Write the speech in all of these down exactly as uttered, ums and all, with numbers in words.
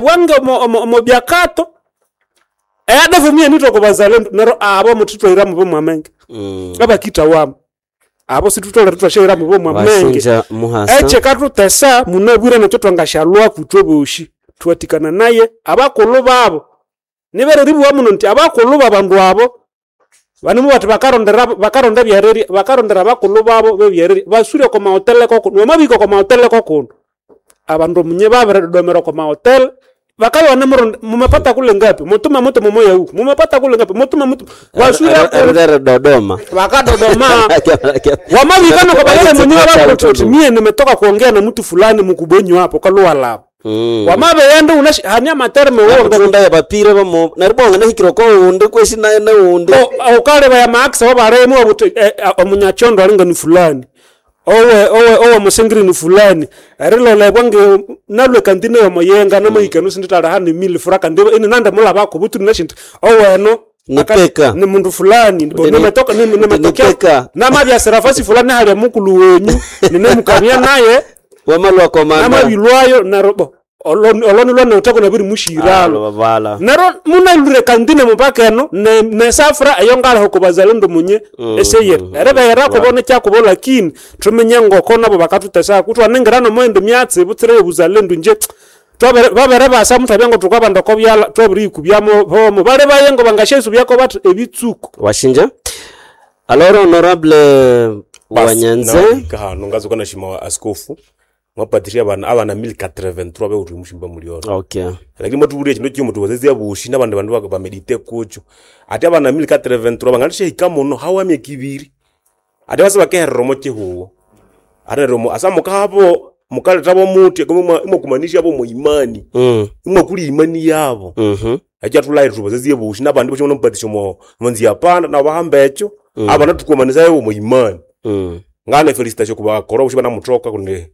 Bwange omo- omo omo byakato E A D F muyanithwa oko bazalendo neryo abo muthitwaira mubo mwamenge. Mm. Abakithawamo abo sithutholere ithwasyaira mubo mwamenge. Wasinja muhasa. Ekyikathutesa munabwire nekyo thwangasyalhwaku ithwebosi thuwathikananaye abakulhu babu. Nibere eribugha muno indi abakulhu babandu abo banimubugha bathi bakarondera bakaronda ebyerirya, bakarondera abakulhu babu bebyerirya. Baswire okwa mahotele kokundi, wamabihika okwa mahotele kokundi, abandu munye babiridodomera okwa mahotele, bakabya ibanemuronda mumepata kule ngapi, mutume muthuma omoyahuku, mumepata kule ngapi, mutume muthuma, baswire Eri- eri Dodoma. Bakadodoma. Wamabihika noko balere munye bababuthi uthi mie nimetoka kuongea na mtu fulani mukubwenyu hapo kalhuwalaba. Mm. Wamabighenda wunasi hane amaterme wonga Abatunda yabapire bamo neryo bwanganahikire oko wundi kwesi naye nawundi. Wukalebaya amaakisi awabalimo iwabugha wuthi omunyakyondo alinga ni fulani, owe owe owomusingiri ni fulani, erilolebwa nge nalhwa ekantine yomuyenga namahika enu isindithaliha ne mille francs kandi ininandimulhabako betu inasi indi owenu Nipeka. nimundu fulani Ni- nimetoka nimetokea nipeka. namabyasira fasi fulani hali mukulhu wenyu ninemukania naye. Wamalwa komanda. Namabilwayo neryo bo olho olho nilhonawitheko nabirimushiralho. Vala. Neryo munalhwire ekantine mupaka eno ne- nesafra eyongaliha oko bazalendo munye eseyiri eribegherakubo nikyakubo lakini thuminye ngoko nabo bakathutesako ithwaningira nomoyindi myatsi butsira eyobuzalendo inje twabere babiribasa muthwabya ngothukabanda oko byalha thwabiriyikubyamo bomo balibaye ngobangasyasubyako bathi ebitsuku. Washinja. Alors honorable Wanyanze. Nawahika hano ngazuka nashima askofu mwapatishia abana abana elfu mia moja themanini na tatu bewuthi mushimba mulioro. Okay. Lakini mwatubulya ekindu kimo tuwazezya bushi nabandi bandu baka bamedite kucho ati abana elfu mia moja themanini na tatu banganishahika muno hawa myaka ibiri ati basa bakeherera omo kihugo ati neryo mu- asa mukahabo mukalethabo muthi imwakumanisha bo muimani Mm. imwakuli imani yabo. Mhm. Ekyathulahira thubazezye bushi nabandi boshi mupatisha omo monzi yapanda nabo bahamba ekyo abana tukumanisayo omo imani. Mm. Ngane felicitation kubakora bushi banamuthoka kundi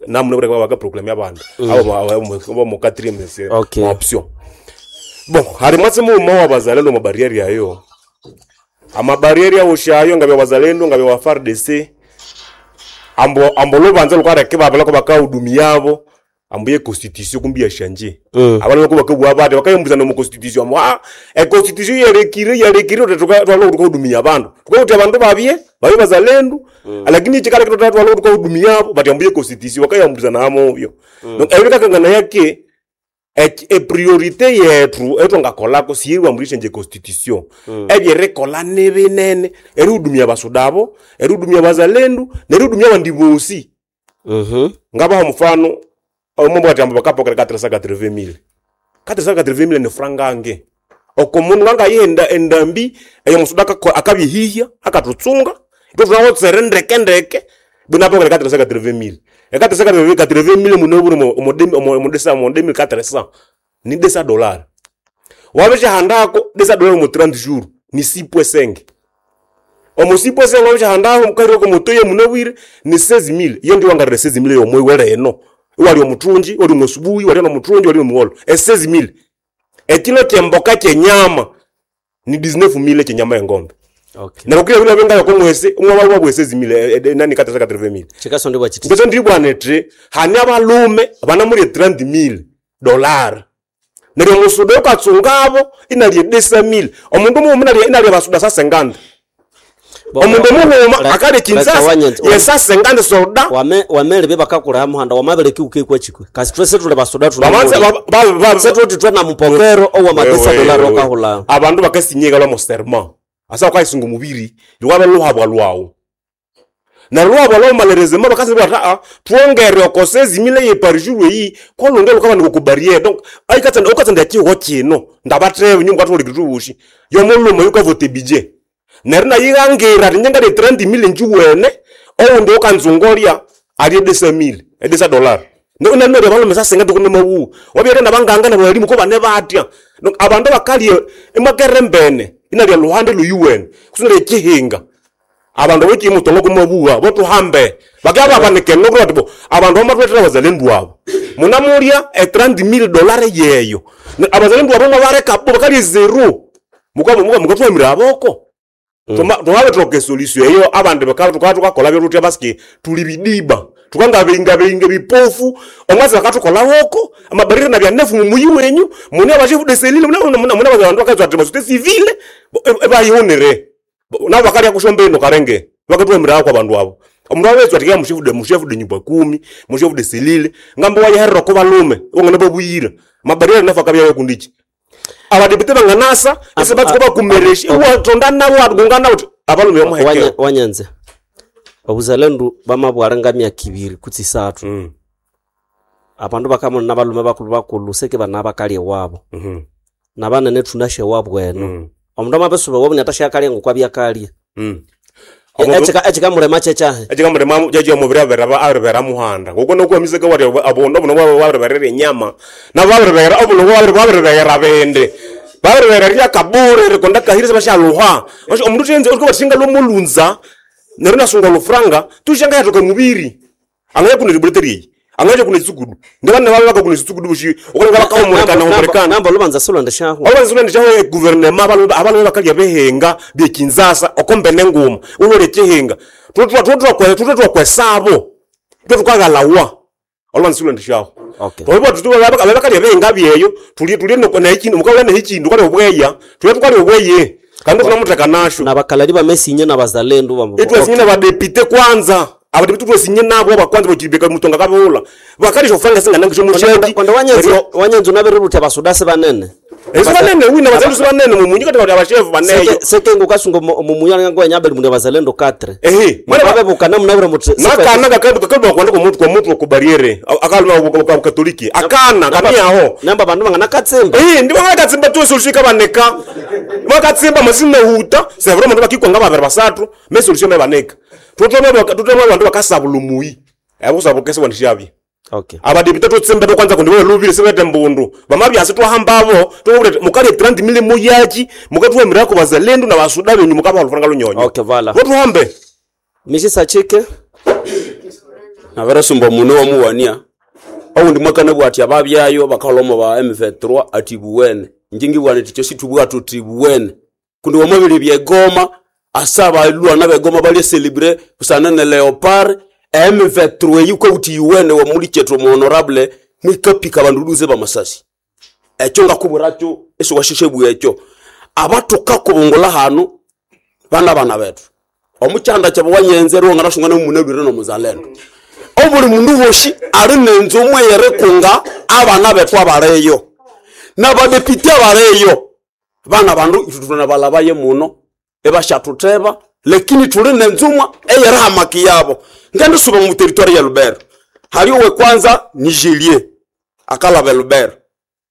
namune bureka bakaproclaim abandi abo abo mu quatrième Okay. option. Bon, hari mwatsi muuma wa bazalendo mu barriere yayo amabarriere awoshayo ngabya wazalendo ngabya wa F A R D C ambo ambo lubanza lukareke babala ko bakahudumiyabo ambo ye constitution kumbi yashanje. Mm. Abana ko bakabwa bate bakayembuzana mu constitution ambo ah e constitution yalekire yalekire twalo tukahudumia abandu tukakuti abandu babye babye bazalendo, lakini chikala kitotatu twalo tukahudumia bati ambo ye constitution bakayambuzana amo yo. Donc ebyo kakangana yake e, e priorité yethu etwangakolako siyeriwambulisha nje constitution ebyerikolha nibinene erihudumia basudabo, erihudumia bazalendu, nerihudumia abandi bosi. Mhm. Ngabaha mfano omombo ati amba bakapokera quatre cent quatre-vingt mille. quatre cent quatre-vingt mille ni frangange oko mundu ngangayihenda endambi eyo musuda akako- akabyehihya akatutsunga ithwe thunawotsere ndeke ndeke binapokera quatre cent quatre-vingt mille. E quatre cent quatre-vingt mille munobure omo omo desa omo deux mille quatre cents ni desa dollar wabishahandako desa dollar omo trente jours ni six virgule cinq omo six virgule cinq wabishahandako mukaireko mutoye munobwire ni seize mille. Iyo ndiyo wangarire seize mille yomwe eno iwali omuthungi wali omusubuhi wali nomuthungi wali omugholo e seize mille. Ekilo kyemboka kyenyama ni dix-neuf mille kyenyama engombe. Okay. Neryo kila bila benga yokomwese umwe wabwe seize mille eh, eh, nani quatre cent quatre-vingt mille. Chikasondebwa chiti. Ngeso ndibwana thi hani abalume banamulya trente mille dollar neryo omusuda yukatsungabo inalya dix mille omundu mughuma inalya inalya basuda sa cinquante omundu mughuma akalya Kinshasa yesa cinquante soda. Wame wamele bakakulha muhanda wamabele kiuke chikwe. Kasi twese tuli basuda Bamanza tuna. ba- ba- ba- Sethu twe na mupokero owa madesa Wewe, dollar wewe. okahula. Abandu bakasinyika lwamo serment asa ukayisunga omubiri lwabe luhabwa lwawu neryo luhabwa lwawu malerezema bakasi bati aa twongere oko seize mille ye par jour eyi kolunge lukabandika oku barriere. Donc ayikatsanda ukatsanda ekihugo kino ndabathebe nyuma kathulikiri thubushi yomulhume yukavote budget neryo nayighangira ati nyengalye trente mille njuwene owundi ukanzungolya alye dix mille edix dollar neryo abalume sasinga tukunimawuwa wabyere nabanganga nabalimu ko bane batya. Donc abandu bakalye imakere mbene inalya luhande luyuwene kusinalya ekihinga abandu bokimutongo kumabuwa botuhambe bakya babanikene bati bo abandu bamathwethera abazalendu abo munamulya e trente mille dollar yeyo Ne- abazalendu abo mwabareka bo bakalya zero muka muka mukatwamira aboko. Tuma- tumabetoka esolution eyo abandu baka tuka tukakola byotutya basiki tuli bidiba. Tukanga beinga beinga bipofu omwazi bakatukola woko amabarrière na byanefu mumuyi wenyu mune abashefu de cellule mune mune mune abantu bakazwa ati société civile bayihunire nabo bakalya kushomba ino karenge bakatwemera kwa bandu abo omundu awethu ati mushefu de mushefu de nyumba kumi, mushefu de cellule ngambo wayiherera ko balume ongana babuyira mabarrière nafa akabya kundichi abadepute banganasa ese batsuka bakumeresha iwatonda nabo watugungana uti abalume bamuhekeo. Wanya- wanyanze obuzalendu bamabwara nga myaka ibiri kutse isathu Mm, abandu bakamona nabalume bakulu bakulu seke bana bakalya ewabo mhm, nabanene thunasha ewabo eno mm, omundu amabisuba ewabo niatashakalya ngokwa byakalya mm. Ekikamulema kyekyahe? Ekikamulema kyekyo omubiri abiribera muhanda ngoko nokwamiseka wati abondo buno bwabiriberera enyama nabo babiribera obuno bwabiriberera bindi babiriberera ryakabure rikonda kahiri sebashaluha omundu thenze orikabasinga lomulunza neryo nasunga olufuranga tushanga yathoka mubiri angaya kuna ribuleteriyi angaja kuna tsikudu ndabana babe bakakuna tsikudu bushi okonga bakahumurekana humurekana. Namba olubanza silwendeshaho. Olwanzilwendeshaho eguverinema abalume bakalya behenga byekinzasa okombene nguma ulole chihinga tutwe twakwesabo tutwe tukaghalawa olwanzilwendeshaho. Okay. Abakalya behenga byeyo tulye tulye nekindu mukabula nehikindu kali obweya tulye tukali obweye kandi tunamutheka nasho. Nabakalali bamesinye nabazalendo bam- Itwesinye nabadepite kwanza, abadepite twesinye nabo abakwanza bochibeka mutonga kabula bakalisha ofanga singanangisho mushaki. Konde wanyanzi wanyanzi unabiriruthi abasudasi banene. Esibanene wina bazalendo sibanene mumunyi kati abashefu baneyo. Seke- seke ngukasunga mumuyangangwenyabeli mundu abazalendo katre Ehe. mabebukana munabire muthi Nakana kakabwa kwanda kwa mutu kwa mutu ku barriere akaluma kwa katoliki akana kamiaho. Namba bandu banganakatsimba. Eh, ndi bakatsimba tu solution kabaneka bakatsimba masina huta c'est vraiment bakikwa nga babere basatu mais solution mebaneka tutome tutome bandu bakasabula muyi abo sabukese wandishabye. Okay. Abadepite tutsimbe kwanza kundi lubile sebete mbundu bamabyasi twahambabo tubule mukali thirty mille muyaki mukatwemera ku bazalendo na basuda benyu mukaba lufanga lunyonyo. Okay, voilà. Botuhambe. Mishisa chike. Naveresumba mune wamuwania oundi mwakana bwati ababyayo bakalomo ba M vingt-trois ati buwene njingi bwana ticho situbwa tuti buwene kundi wamabili byegoma asa balwana begoma bali celebrate busana ne leopard M vingt-trois yuko uti yuwene wa muli chetu mu honorable mwikapika bandu duze bamasasi ekyo ngakuburacho eso washeshe bwekyo abatuka kubungola hanu bana bana betu omuchanda kyabo wanyenze ruwo ngarashungana munelwire no muzalendo obuli mundu woshi ali nenzu omwe yerikunga abana betu abaleyo nabadepite abaleyo bana bandu itutuna balabaye muno ebashatuteba lakini tuli nenzumwa eyerihamaki yabo ngendisuba mu territoire ya Lubero hali owe kwanza ni Julie akalaba Lubero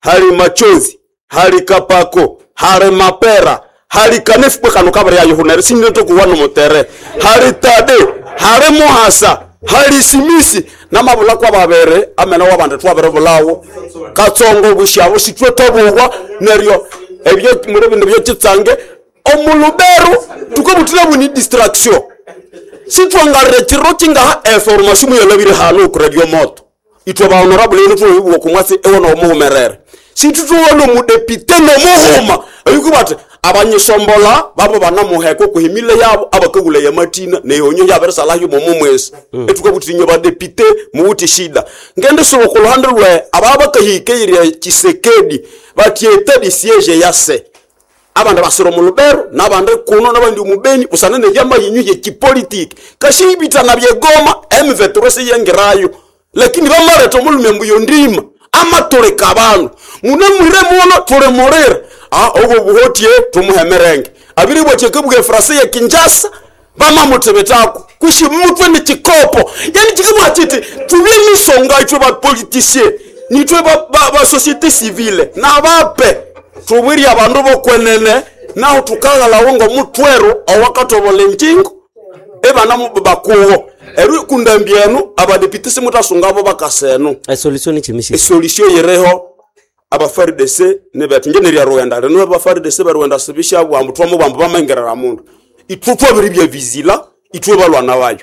hali machozi hali kapako hali mapera hali kanefu kano kabari ya yohunere sinetokuwa nomutere hali tade hali muhasa hali simisi namabula kwa babere amena wabandi twabere bulawo katsongo bushabo sitwe tabugwa neryo ebyo muri bindu byekitsange omuluberu tukabutira buni distraction sitwangarire chiro chingaha information muyolabire hano ku radio moto itwe ba honorable ino tuwe kumwasi ewo no muhumerere situtuwona omudepite nomuhuma ayuku bati abanyisombola babo banamuheka okuhimile yabo abakagula yamatina neyonyo yaberesalayo momo mwesi mm. etukabutirinyo badepite muwuti shida ngende suba kuluhande lwe aba bakahikeirya Chisekedi bati état de siège yase abandi basira mu Lubero nabandi kuno nabandi mubeni busana nebyamahinyu yekipolitiki kashibitana byegoma M vingt-trois siyengirayo lakini bamareta omulume mbuyo ndima amatulika abandu mune mwire muno tulimulira ah obwo buhotie tumuhemerenge abiri bwatie kabwe frase ya Kinshasa bamamutebetako kushi mutwe ni chikopo yani chikabwa chiti tubye misonga itwe ba politicien nitwe ba, ba, ba société civile nabape tubwirye abandu bokwenene naho tukaghalawo ng'omutwero owakatobola enjingo ebana bakuwo eri kundambi enu abadepite simutasungabo bakasenu. Esolution ni chimishisa. Esolution yireho aba F A R D C nibetu nje nerya Rwanda rino aba F A R D C barwenda sibisha bwambu twamo bwambu bamengerera mundu itwe twabiri bya vizila itwe balwana bayo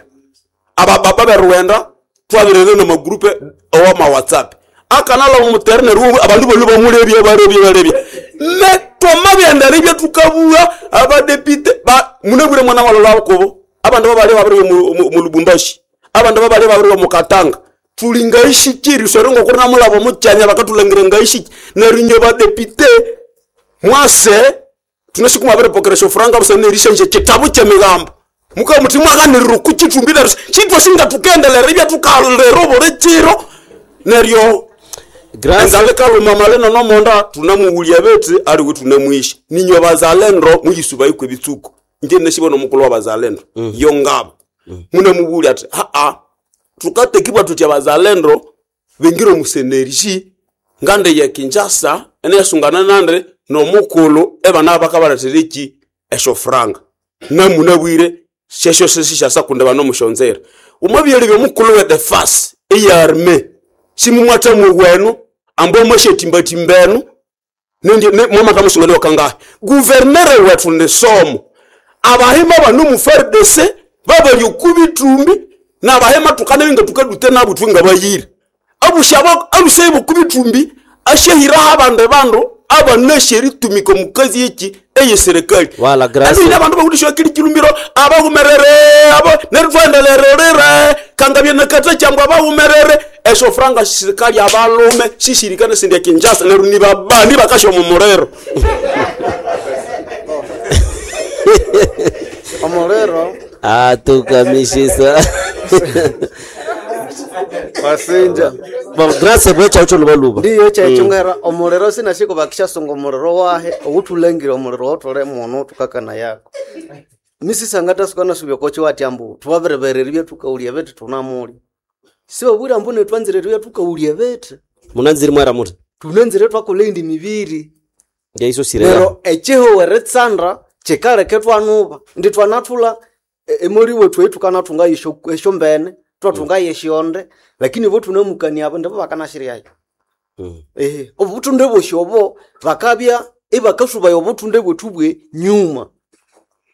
aba baba berwenda twabirere na magroupe owa ma WhatsApp akanala muterne ruwe abandu bali bamurebye barebye barebye me twamabyenda ribye tukabua abadepite ba munebure mwana walala kubo abandu babali babiri mu mu Lubumbashi. Abandu babali babiri mukatanga. Tulingaishikiri usore ngoko namulabo muchanya bakatulangira ngaishiki. Neryo ba député mwase tunashikuma bere shofranga busanerisha nje kitabu kyemigambo. Muka muti mwaganirira kuchitumbira chitwa singa tukendelera ibya tukalero bore chiro. Neryo Enzale kaluma maleno no monda tunamuwulya beti ali we tunamwishi. Ninyo bazalendo muyisuba ikwe bitsuko. Nje neshibona mukulu wa bazalendo. Mm. Yo ngabo. Mm. Munamuwulya ati ha a tukatekibwa tutya bazalendo bengiro musenerji ngande ya Kinshasa enesungana nande no mukulu ebana bakabaratereki esho franga. Namunabwire shesho sesisha kunde bano mushonzera. Umabyele byo mukulu we the first eyarme. Simumwata mugwenu ambo mwashetimba timbenu nindi mwama kamusungane wakanga gouverneur wetu ne somo abahema bano mu F A R D C babali okubitumbi na bahema tukane binga tukadute nabo twinga bayira abushaba alusebo kubitumbi ashehira abande bando abanesheri tumiko mukazi yiki eye serikali wala grace ani abantu bakudishwa kili kilumbiro abahumerere abo nerutwendelerere kangabye nakata cyangwa abahumerere esho franga serikali abalume shishirikane sindya Kinshasa neru ni babandi bakasho mu murero omurero atukamishisa wasinja bon grace bwecha ucho lubaluba ndiyo chechungera omurero sinashiko bakishasunga omurero wahe owutulengire omurero wotole muno tukakana yako misisangata sukana subya kochi wati ambu tuwaberebereri byetukaulya beti tunamuli sibabwira mbu netwanzire byetukaulya beti munanziri mwera muti tunanzire twakola indi mibiri ngeiso sirera nero echihuwere tsandra chikaleke twanuba ndi twanathula emoli wethu etukanathunga esyo mbene twathunga yeshionde lakini bo tunamukania abo ndibo bakanashiryayo Mm. ehe obuthunde bwosi obo bakabya ibakasubaya obuthunde bwethu bwe nyuma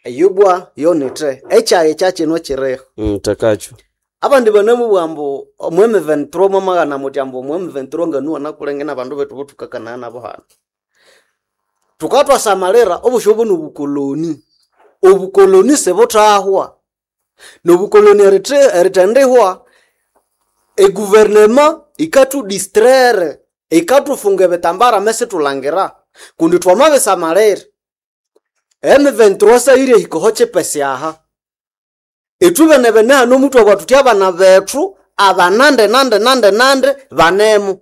eyo bwa yonete ekyayi kyakino kiriho Mm, takacho abandi banamubwira ambu omu M twenty-three mwamagana muti ambu omu M twenty-three nganuwa nakulenge nabandu bethu botukakanaya nabo hano tukatwasamalira obusyo obu nobukoloni obukoloni sibuthahwa nobukoloni erite- erithendihwa eguvernema ikatudistraire ikatufunga ebitambara mesithulangira kundi twamabisamalira M twenty-three sayire ehikoho kyipesi aha ithubene bene hano omutwe bwathu thuthi abana bethu abanande nande nande nande banemu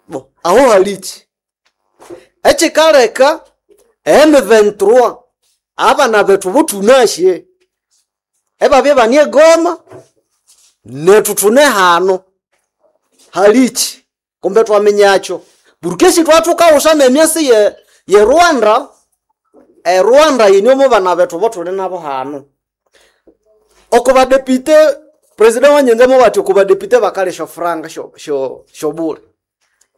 bo aho haliki ekikaleka M twenty-three abana bethu bothunasye ebabye bane egoma nethu thune hano haliki kumbe twaminyakyo burukesi twathukaghusana emyasi ye, ye Rwanda e Rwanda yinyomo bana bethu bothuli nabo hano oko badepite president wanyenze bati oko badepite bakale sho franga sho sho shobule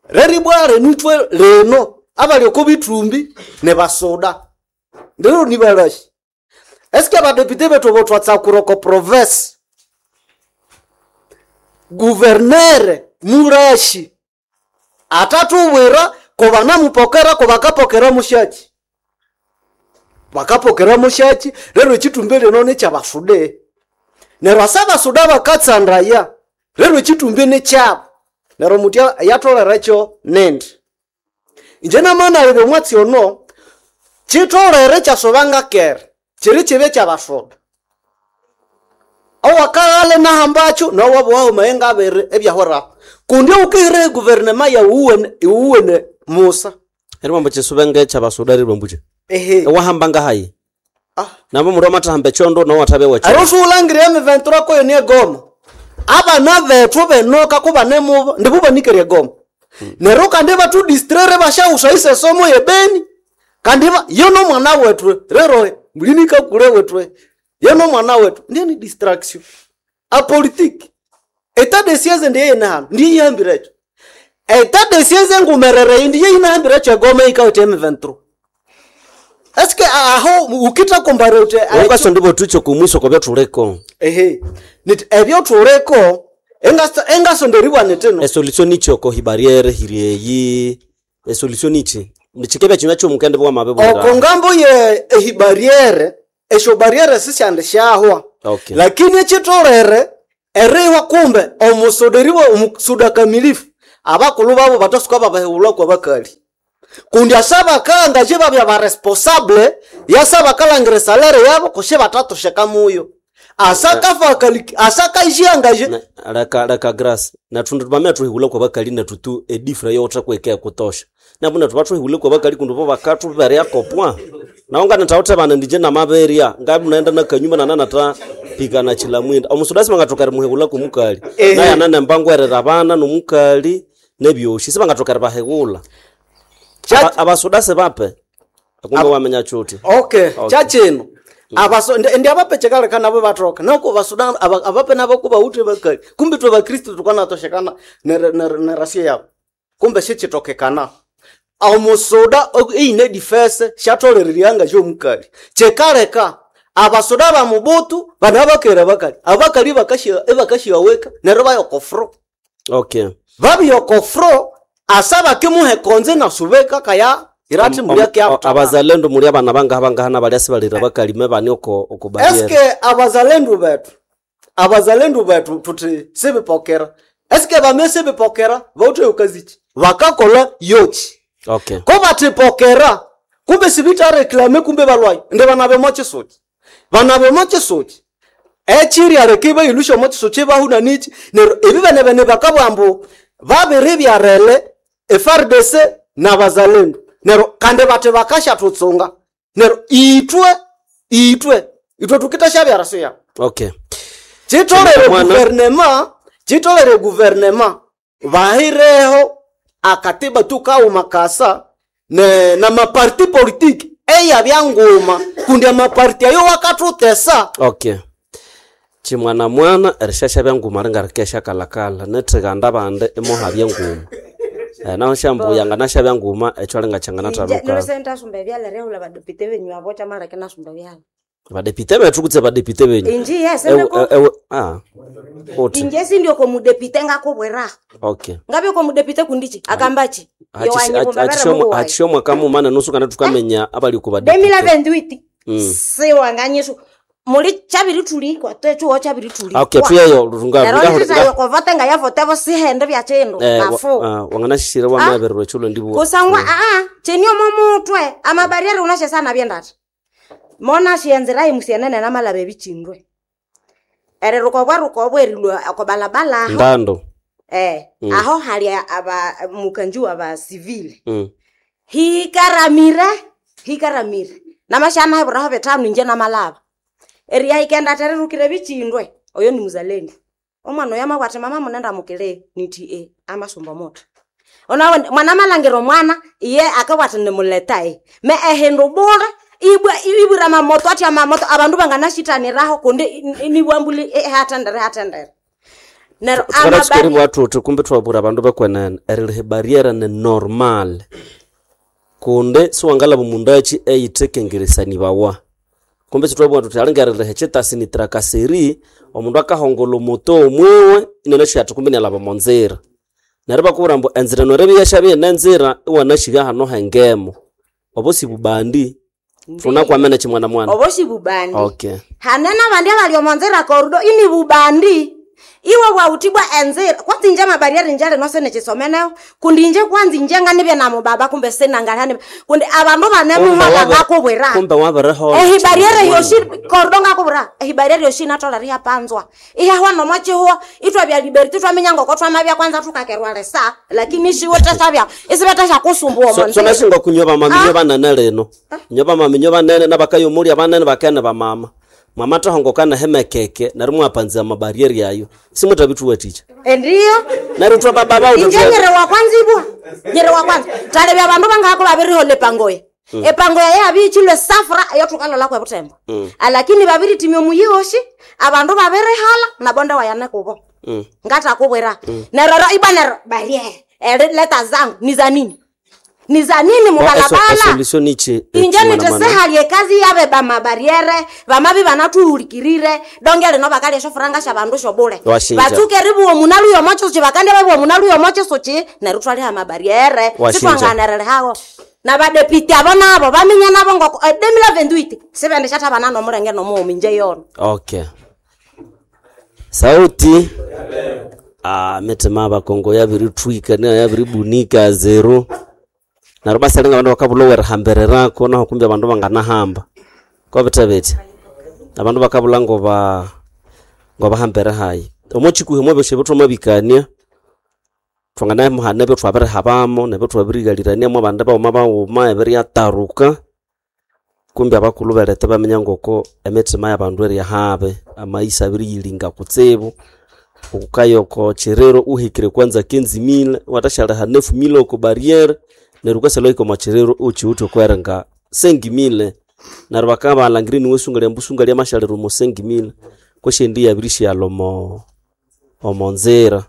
reri bware nutwe leno abali oko bitumbi ne basoda ndero nibalashi eske abadepite bethu botwatsakura oko province guvernere murashi atatubwira ko banamupokera ko bakapokera mushaki bakapokera mushaki rero ekitumbi lino nekyabasude neryo asa abasuda bakatsandaya rero ekitumbi nekyabo neryo mutya yatolere nindi inje namanalebe omwatsi ono kitolere kyasobanga kere kiri kibe kyabasuda owakaghale nahambakyo nowabuwaho mayenga abiri ebyahweraho kundi ukihire eguverinema yawuwene iwuwene musa erimambo kyisubenge kyabasuda rirwambuche ehe ewahamba ngahayi ah. nabo mundu amathahamba ekyondo nawo athabe wekyo ero siwulangire M twenty-three koyo ni egoma abana bethu benoka kubanemubo ndibubanikere egoma neryo kandi batudistraire bashawusa isesomo yebeni kandi ba- yo nomwana wethu rero mulinikakule wethu yo nomwana wethu ndiye ni distraction apolitiki etat de siège ndiye yinahano ndiye yihambire etat de siège engumerere ndiye yinahambire egoma ikawete M twenty-three eske aho ukita kumbare ute ukaso ndibo tucho kumwiso kobya thuliko ehe niti ebyo thuleko engasonderibwa nitino esolution ichi oko hibariere hirieyi esolution ichi nichikebya chinywa kyomukende bwa mabe oko ngambo ye ehibariere esyo bariere sisyandi syahwa Okay. lakini ekitolere Erihwa kumbe omusoderiwa omusuda kamilifu abakulu babo batasuka babahewulwa kwa bakali. Kundi asaba kanga je babya ba responsable yasaba kalangire salere yabo kushe batatosheka muyo. Asaka fakali asaka ishiangaje Na- leka leka grace nathu bamene thuhihula kwa bakali nethu tu edifra yotha kwekea kutosha nabu nethu bathuhihule kwa bakali kundi bo bakathuberea kopwa nawo nganatawuthe bana ndije namaberya ngabu naenda nakanyuma nananata pikana chilamwinda omusudasi bangathoka rimuhihula kumukali naye ananemba ngwerera abana nomukali nebyoshi sibangathoka ribahihula Cha- Aba- abasudasi bape akumbe wamenya chuti Okay, Okay. chachino abaso ndi ndi abapechekaleka nabo batoka nako basudan aba- abape nabo kuba ute bakali kumbe twe bakristu tukanatoshekana nerasio yabo kumbe shichitokekana omusoda eine difese shatoleriryanga jomukali chekaleka abasoda ba mubutu bana bakera bakali abakali bakashia ebakashiaweka nero bayokofro okay babiyokofro asaba kimuhe konze nasubeka kaya irati Om- om- abazalendo muli abana bangaha bangaha nabalya sibalira bakalime bani oko oko barriere Eske abazalendu betu abazalendu betu tuti sibipokera eske bame sibipokera vaute ukazichi vakakola yochi okay ko batipokera kumbe sibitareklame kumbe balwayi ndi banabe mochisuchi banabe mochisuchi echiri areke bailusha mochisuchi bahuna nichi nero ebi bene bene bakabwambu babiri byarele F R D C na bazalendu nero kandi bate bakashatutsunga nero itwe itwe itwe tukitasha byarasuya okay chitolere Mwana. guvernema chitolere guvernema vahireho akatiba tukauma kasa ne, na maparti politiki eya byanguma kundi amaparti ayo wakatutesa okay chimwana mwana erishasha byanguma ringarikesha kalakala nethikanda bande imoha byanguma eh, naho shambuya nganasha byanguma echo ringachangana taluka nilusendasumba ebyala rehula badepite benyu abo chamaleke nasumba byala badepite bethu kutse badepite benyu inji yes Ewe- ndiko ewe ah uthi inje sindio komudepite ngakubwira okay ngabe komudepite kundichi akambachi hachishomwa kamumana nusu kana tukamenya abali ku badepite demila venduiti Mm. siwanganyishu muli chabiri tulikwa twechuwo chabiri tulikwa okay tuyeyo runga neryo kovate ngayavotevo sihende byachindu mafu wanganashishira wamabererwa chulo ndibu kusangwa aa chenio momutwe amabariere unashesana byendata mona shienzera imusienene namalaba ebichindwe ere rukobwa rukobwa erilwa okobalabala aho ndando eh Mm. aho hali aba mukanji wa ba civil mm. hikaramire hikaramire namashana heburaho betano inje namalaba eria ikenda tererukire bichindwe oyo ni muzalendo omwana oyo amabwate mama munenda mukile niti e amasumba moto ona mwana malangiro mwana iye akabwate nimuleta e me ehindu bure ibwa ibwira mamoto ati amamoto abandu banganashitaniraho kundi nibwambuli hatendere hatendere nero tukaratsikeri bwathuthi kumbe twabura abandu bekwenene eriliha barriere ni normal kundi siwangalaba mundu achi eyithekengeresanibawa kumbe sitwabugha thuthi alingeriliha chitasi ni trakaseri omundu akahongola omuto omwiwe inanashiga athi kumbe nialaba omonzira neryo bakubwira ambu enzira norebe yashabye nenzira iwanashiga hano hengemo obo sibubandi thunakwamene chimwana mwana obo sibubandi okay hanena bandi abali omonzira korudo ini bubandi iwe bwautibwa enzira kwanza inje amabariere njale nose nechisomeneho kundi inje kwanza inje nganibye namubaba kumbe sinangalihani kundi abandu banemuhola ngakubwira kumbe wabirehola ehibariere yoshi korudo ngakubwira ehibariere yoshi natola rihapanzwa ihahwa nomochihuo itwa bya liberty twaminya ngoko twamabya kwanza tukakerwa lesa lakini shiwo teshabya isibetesha kusumbuwa So- so omonzira nasinga kunywa bamami nyo banene lino nyo bamami nyo banene nabakayomulya banene bakene bamama mwama tahongokana hemekeke neryo mwapanzia mabarieri ayo simuthabithuwathikya endiyo neryo thwa bababa inje nyere wa kwanza ibwa nyere wa kwanza talebya bandu bangako babirihola epangoya epangoya yabiichilwe safura eyo thukalola kwe butembo alakini babiritimya omuyihoshi abandu babirihala nabonde wayane kubo ngatakubwira nerero ibwa nero bariere eri leta zangu ni za nini ni za nini mubalabala esolution ichi inje nitesehali ekazi yabe bamabariere bamabi banathuhulikirire donge lino bakalya esyofuranga syabandu syobule Washinja. batsuke ribuwa omunaluya omochisuchi bakandya babuwa omunaluya omochisuchi neryo thwaliha amabariere Washinja. sithwanganerihawo nabadepiti abo nabo baminya nabo ngoko demila venduiti sibendishathabana nomulenge nomughuma inje yono okay Sauti ah mitima abakongo yabirithwika na yabiribunika zero neryo basalinga abandu bakabulha werihambirako naho kumbi abandu banganahamba kobithe bithi abandu bakabulha ngoba ngobahambere hayi omo chikuhi mwebyosi ebithwamabikania twanganamuhana ebyo twabirihabamo nebyo twabirighalirania abandi baghuma baghuma ebiriataruka kumbi abakulhu beletha baminya ngoko emitima y'abandu eriyahabe amaisa abiriyilinga kutsibu ukukaya oko chiriro uhikire kwanza kenzimile watashalha nefu mile oko barriere neryo ukasalha wahika omo chiriro uchiwithe okweringa sengimile neryo bakabalhangira niwe sunga mbu sunga lyamashalira omo sengimile kwesyendi yabirishyalha omo omo nzira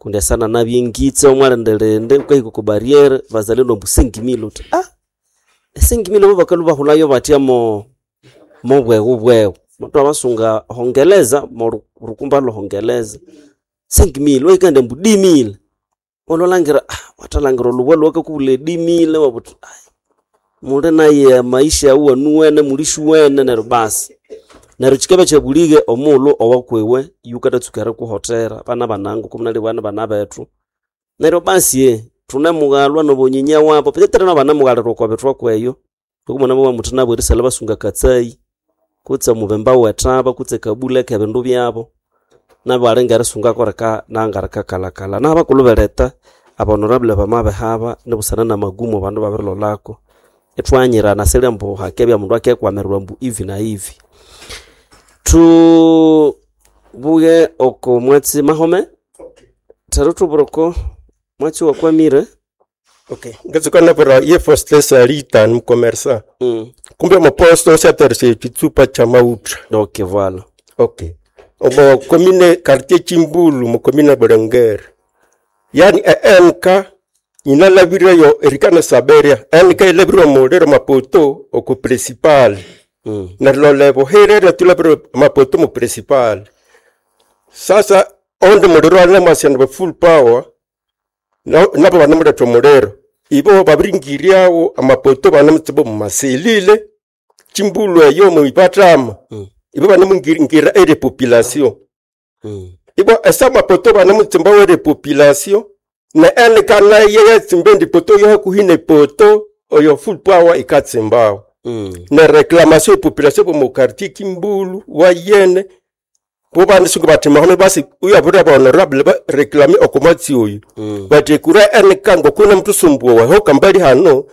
kundi asana nabyengitse omwalindelinde ukahika oko barriere bazalendo mbu sengimile uthi ah esengimile bo bakalhu bahulayo batya mo mobweghu bweghu muthu abasunga hongeleza morukumba lwohongeleza sengimile waikande mbu dimile olwalangira ah, wathalangira olubwa lwakakubula edimile wabuthi "Ai, muli naye maisha awu anuwene mulishuwene neryo basi neryo kikabya kyabulige omughulhu owakwiwe yukatatsuka erikuhotera bana banangu kumunali bwana bana bethu neryo basi ye thunemughalwa nobonyinya wabo petetera nabanamughalira okwa bithwa kweyo okumwana bwa muthi nabo erisalha basunga katsayi kutse mubemba wethaba kutse kabule kebindu byabo nabo alinga erisungako rika nanga rikakalakala nabakulhu beletha abonorable bamabihaba nibusana namagumu abandu babirilolako ithwanyirana silya mbu hakebya mundu akekwamirwa mbu ivi na ivi tubuye oko mwatsi mahome thero thubura mwatsi wakwamire Okay. Ngatsuka nabura ye Faustin Salita ni mkomersa. mm. Kumbe moposto saterse chitsupa cha mautra. Okay, voilà. Okay. Omo commune quartier Chimbulu mu commune Burengere. Yani e N K inalabira yo erikana saberia. N K ilabira muliro mapoto oko principal. Mm. Neryo boherera tulabira mapoto mu principal. Sasa onde muliro alema full power nabo banamuletha omuliro ibo babiringiryawo amapoto banamutsiba mumaselile chimbulu eyo muipathama Mm. ibo banamungira ere population Mm. ibo esa amapoto banamutsimba were population na eneka naye yatsimba endi poto yo hakuhi ne poto oyo full power ikatsimbawo Mm. na reclamation ya population bomu quartier kimbulu wayene bo banisunga bathi mahome basi uyabura ba honorable ba reclame okomatsi oyu Mm. bati kura N K ngokuna mtusumbuwa ho kambali hano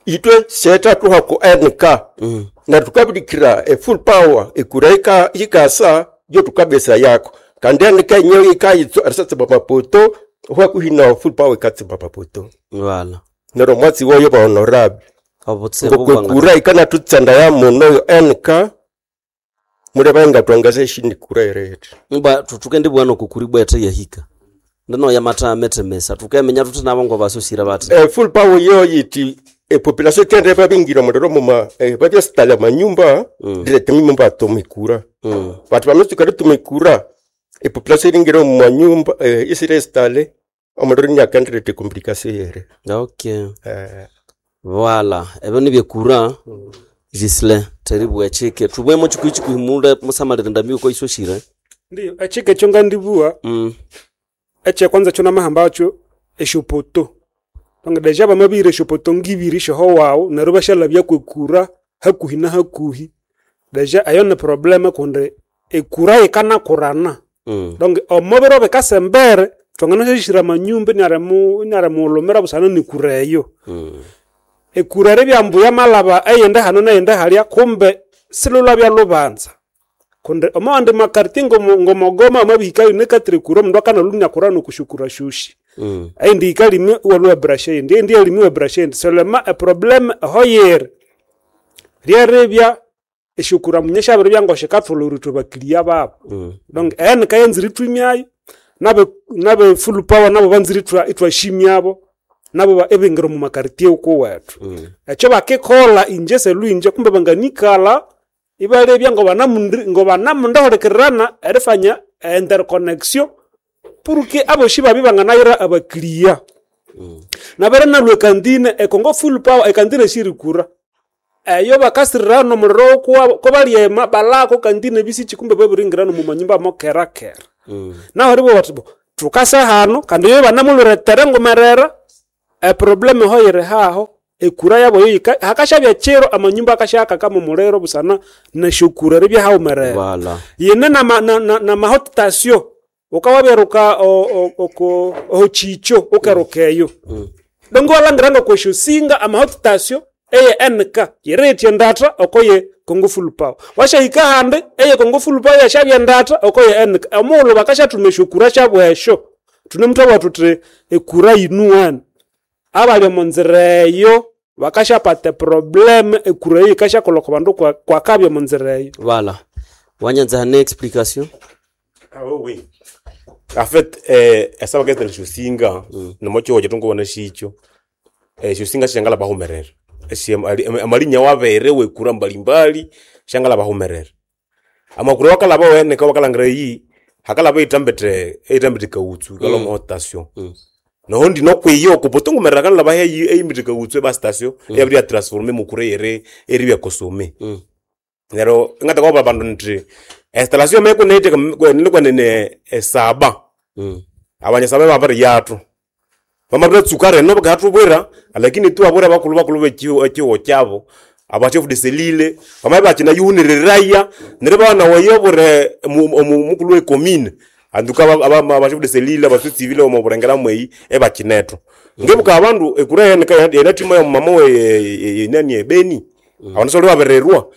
itwe seta tuhako N K Mm. na tukabidikira e full power ekura ika ikasa yo tukabesa yako kandi N K nyo ikayitso arisatse mapoto hwakuhina full power ikatse mapoto Voilà. nero mwatsi woyo ba honorable Obutsibu bwanga. ngokwekura ikana tutsanda ya muno yo N K mure bangatwangaze shini kura erete Mba tutuke bwana kukuri bwete yahika. Ndino yamata metemesa tukemenya tuti nabo ngo basosira bati. eh, full power yo yiti e population kende babingira muliro muma eh, babyasitala manyumba Mm. direct mimba tumikura Mm. batu bamitsukari tumikura e population iringira mu manyumba eh, isire stale omuliro nyakandirete complication yere Okay. eh, Voilà. Ebyo nibyekura. Gisle teribwa chike tubwemo chikuyi chikuyi mule musamalira ndambi ko isoshire. Ndiyo echike ekyo ngandibua Mm. ekyekwanza kyo namahamba akyo esyopoto tonga deja bamabihira esyopoto ngibiri syoho wawu neryo basyalabya kwekura hakuhi na hakuhi deja eyo ni problema kundi ekura yikanakurana Mm. donc omubiro bikasembere twanganasyashira amanyumba inarimu inarimughulumira busana nekura eyo Mm. ekura ribyambu yamalaba eyindi hano neyindi halya kumbe silulabya lubanza kundi omawandi makartie ngomo- ngomogoma amabihikayo nekatire kura omundu akanalumya kura nokushukura shushi Mm. eindi yikalimi iwalwa brasha eindi eindi yalimi iwa brasha eindi selema eprobleme ehoyere ryeribya eshukura munye syabiribya ngoshikathulha ithwe bakiliya babo Mm. donc enika yanzire ithwimyayo nabe nabe full power nabo banzire ithwa ithwashimyabo nabo ba- ebingira omu makartie ukuwethu Mm. ekyo bakikola inje selwinje kumbe banganikalha ibalebya ngobanamundi ngobanamundahulikirana erifanya interconnection puruke aboshi babi banganayira abakiliya Mm. nabere nalwa ekantine ekongo full power ekantine shirikura Eyo bakasirira nomuliro ko balyema balako kandi nebisichi kumbe babiringira nomu manyumba mokera kera. Mm. Naho ribo bati bo tukasa hano kandi yo banamuluretere ngomerera e probleme ho yiri haho ekura yabo yoyika hakashabya chiro amanyumba akashaka kama muliro busana neshukura ribya haumerera. Voilà. Yine na ma, na, na, na mahotasio ukawaberuka oko ochicho ukerukeyo. Mm. Dongo walangiranga kweshusinga amahotasio eye N K yiretie ndata okoye Congo Full Power. Washahika hande eye Congo Full Power yashabya ndata okoye N K. Omuulu bakashatuma eshukura shabwesho. Tunemuthabwa tuti ekura yinuwana. Abali omunzira eyo bakashapata problem ekura eyo ikashakolha kwa bandu kwa- kwakabya omunzira eyo. Voilà. Wanyanza hane explication. Ah oui, oui. En fait, eh, esaba ketele xo nomochihoja tongobona xicho eh, xosinga xangala bahumerera amalinya wabere wekura mbalimbali xangala bahumerera amakura wakalaba wene ka wakalangira eyi hakalaba eitambete eitambete kautsu kala mm. station Mm. noho ndi nokwiyo kupotongomerera kanalaba heyi eimbete kautsu eba station mm. eyabiri ya transforme mukura ere eribya kosome Mm. nero ingata kwaba bandu nti installation mekuneite nikwenene esaba Mm. abanyasaba babiri yathu vamabira reno vakahatuvwira lakini tu avura vakulu vakulu vechiwo chavo aba chef de selile vamaye vachina yuhuniriraia nere vana wayovure mukulu we commune anduka aba chef de selile abasu civile omuvurengera mweyi evachinetho ngevuka abandu ekura yena tima ya mama we yenani ebeni abandu soli vavirerwa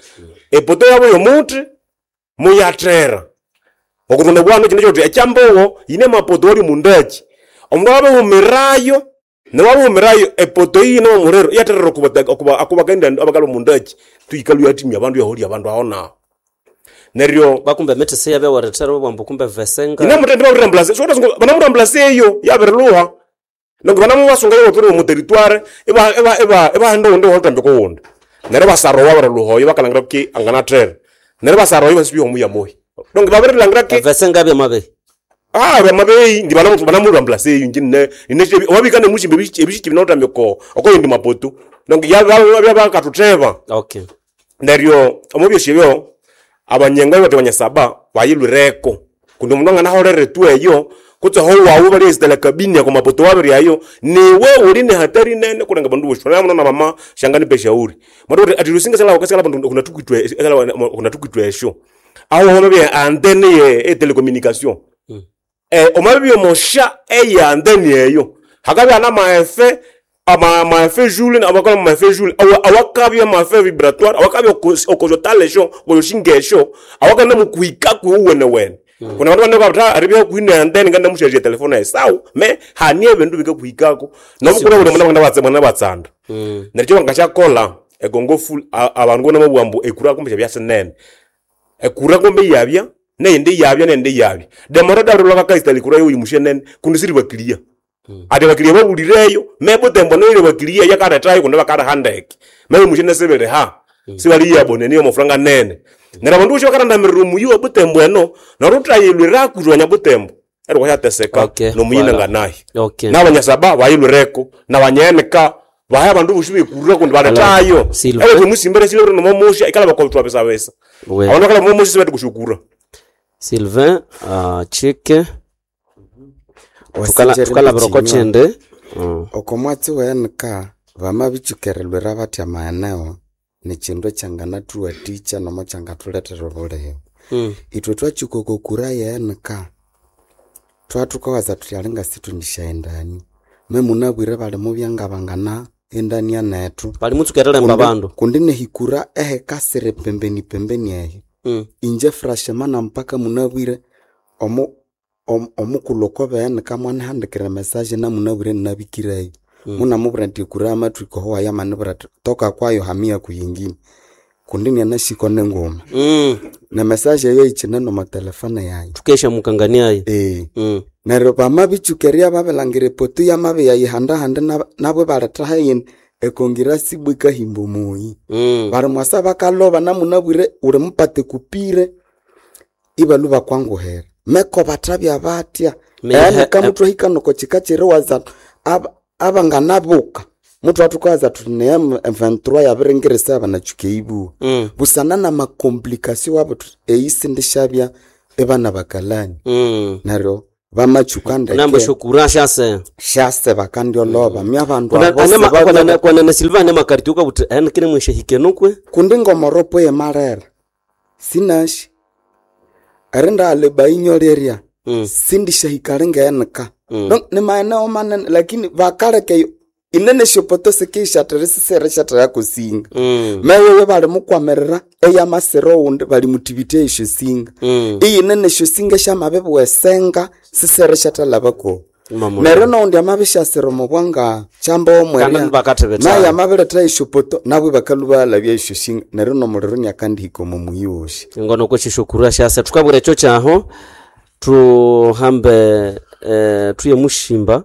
epoto yavo yomuti muyathera okutunda bwana chino choti echambowo yine mapoto wali mundachi omundu wabihumirayo newabihumirayo epoto iyi nomurero yaterera okubakaenda abakali mundachi tuikalu yatimya abandu yaholya abandu aho naho neryo Bakumbe metese yabe waretera bwambo kumbe vesenga. ine mutende bakurambulase banamurambulase eyo yabirilhuha nongo banamubasunga yoturi mu territoire eba eba eba ebahenda wundi holutambiko wundi neryo basarowa barilhuha oyo bakalangira ki anganathera neryo basarowa basibya omuya moyi donc babirilangira ki Vesenga bya mabe. Ah, bamabeyi ndi bana banamurambulase eyo njine ine wabika nemushimbe ebishiki binotambiko okoyindi mapoto donc yabakatutheba Okay. neryo omubyosi ebyo abanyenga bati banyasaba bayilwireko kundi omundu anganaholere tu eyo kutse ho wawu bali esitela kabini yako mapoto wabiri ayo niwe uli ne hatari nene kulenga bandu bosho na mwana mama shangani peshauri mwana ati lusinga sala wakasala bandu kuna tukitwe sala kuna tukitwe esho aho hono bye antenne ye e telecommunication Mm. eh omabyo mosha eya antenne eyo hakabya na maefe ama maefe joule abakola maefe joule awa awakabya maefe vibratoire awakabya okojotale sho okojoshingesho awakana mukuika kuuwene wene kuna vandu vanekavata aribya kuine antenne nganda mushaje telefone esau me hanie bindu bikakuikako nobukura buli mwana mwana batse mwana batsanda Mm. neryo bangashakola egongo full a- abandu bona mabwambu ekura kumbe byasinene ekura kumbe yabya neyindi yabya neyindi yabya demora darula bakaista likura yoyi mushenene kundi siri bakilia ati bakilia babulireyo mebotembo noile bakilia yakaretayo kundi bakarahandeke mewe mushene sebere ha sibali yabone niyo mafuranga nene nera bandu bosho bakarandamirira omuyi wa butembo eno narutayilwira kutwanya butembo eri kwashateseka Okay, nomuyina voilà. nganayi Okay. n'abanyasaba bayilwireko n'abanyenika bahe abandu bosi bekurira kundi baletayo Silver. ewe tumusimbere silver nomomusha ikala bakotwabesabesa We. abandu bakala momusha sibati kushukura Sylvain uh, chike tukala tukala broko chende. Mm. oko mwatsi wenka vamabitsukerelwera batya maeneo ni chindu ekyanganathuwathikya nomo kyangathulethera obulihe Mm. ithwe twatsuka oko kura ye N K twathukawaza thuthi alinga situndisyaendani memunabwire bali mubya ngabangana endania nethu Bali mutsukerera mba bandu. kundi nehikura ehekasire pembeni pembeni eyo Mm. inje frashemana mpaka munabwire omu om- omukulhu okobeenika mwanihandikira message namunabwire ninabikireyo Mm. munamubwira nti ekura amatwika oho wayamanibwira ati toka kwayo hamia kuyingine kundi nianasiko nenguma Mm. ne message eyo ichine nomotelefone yayi Tukesha mukangania ee Mm. neryo bamabitsukeria babilangira epoto yamabiyayihandahanda nab- nabo ibalethaho eyindi ekongira sibwa ikahimba omuyi Mm. bari mwasa bakaloba namunabwire uli mupate kupire ibalwa bakwanguhera meko bathabya batya Me- yani he- kamuthu ahikanoko kika kiriwaza ab- abanganabuka Muthu athukaza thuthi ne M vingt-trois yabiringirisa abanatsuka eibuwa. Mm. Busana n'amakomplikasio wabo thuthi eyi sindishabya ebana bakalani. Mm. Neryo bamatsuka Nambo ndeke shokura shase. shase bakandyoloba mya abandu Kuna abo anema sibabya- kwanene kwanene Silva anema karti ukabuthi en kine mweshehike nukwe. kundi ngomoropo yemarera sinashi erinda bainyo lerya Mm. sindishahikali ngenika Mm. no, ni maeneo manene lakini vakaleka inene shopoto sikishatira sisere kusinga Mm. meyoyo bali mukwamirira eyamasira oundi bali muthibitya esyo singa Mm. iyinene esyo singa syamabibwa esenga sisere syatalhabako Mamu. neryo noundi amabishasira omu bwanga kyamba Kandi omwerya nibakathibitha. naye amabiletha esyopoto nabwo bakalhubalhabya esyo singa neryo nomuliro inakandihika omo muyi wosi Ngono kweshishokura shase tukabwira ekyo kyaho tuhambe eh, tuye mushimba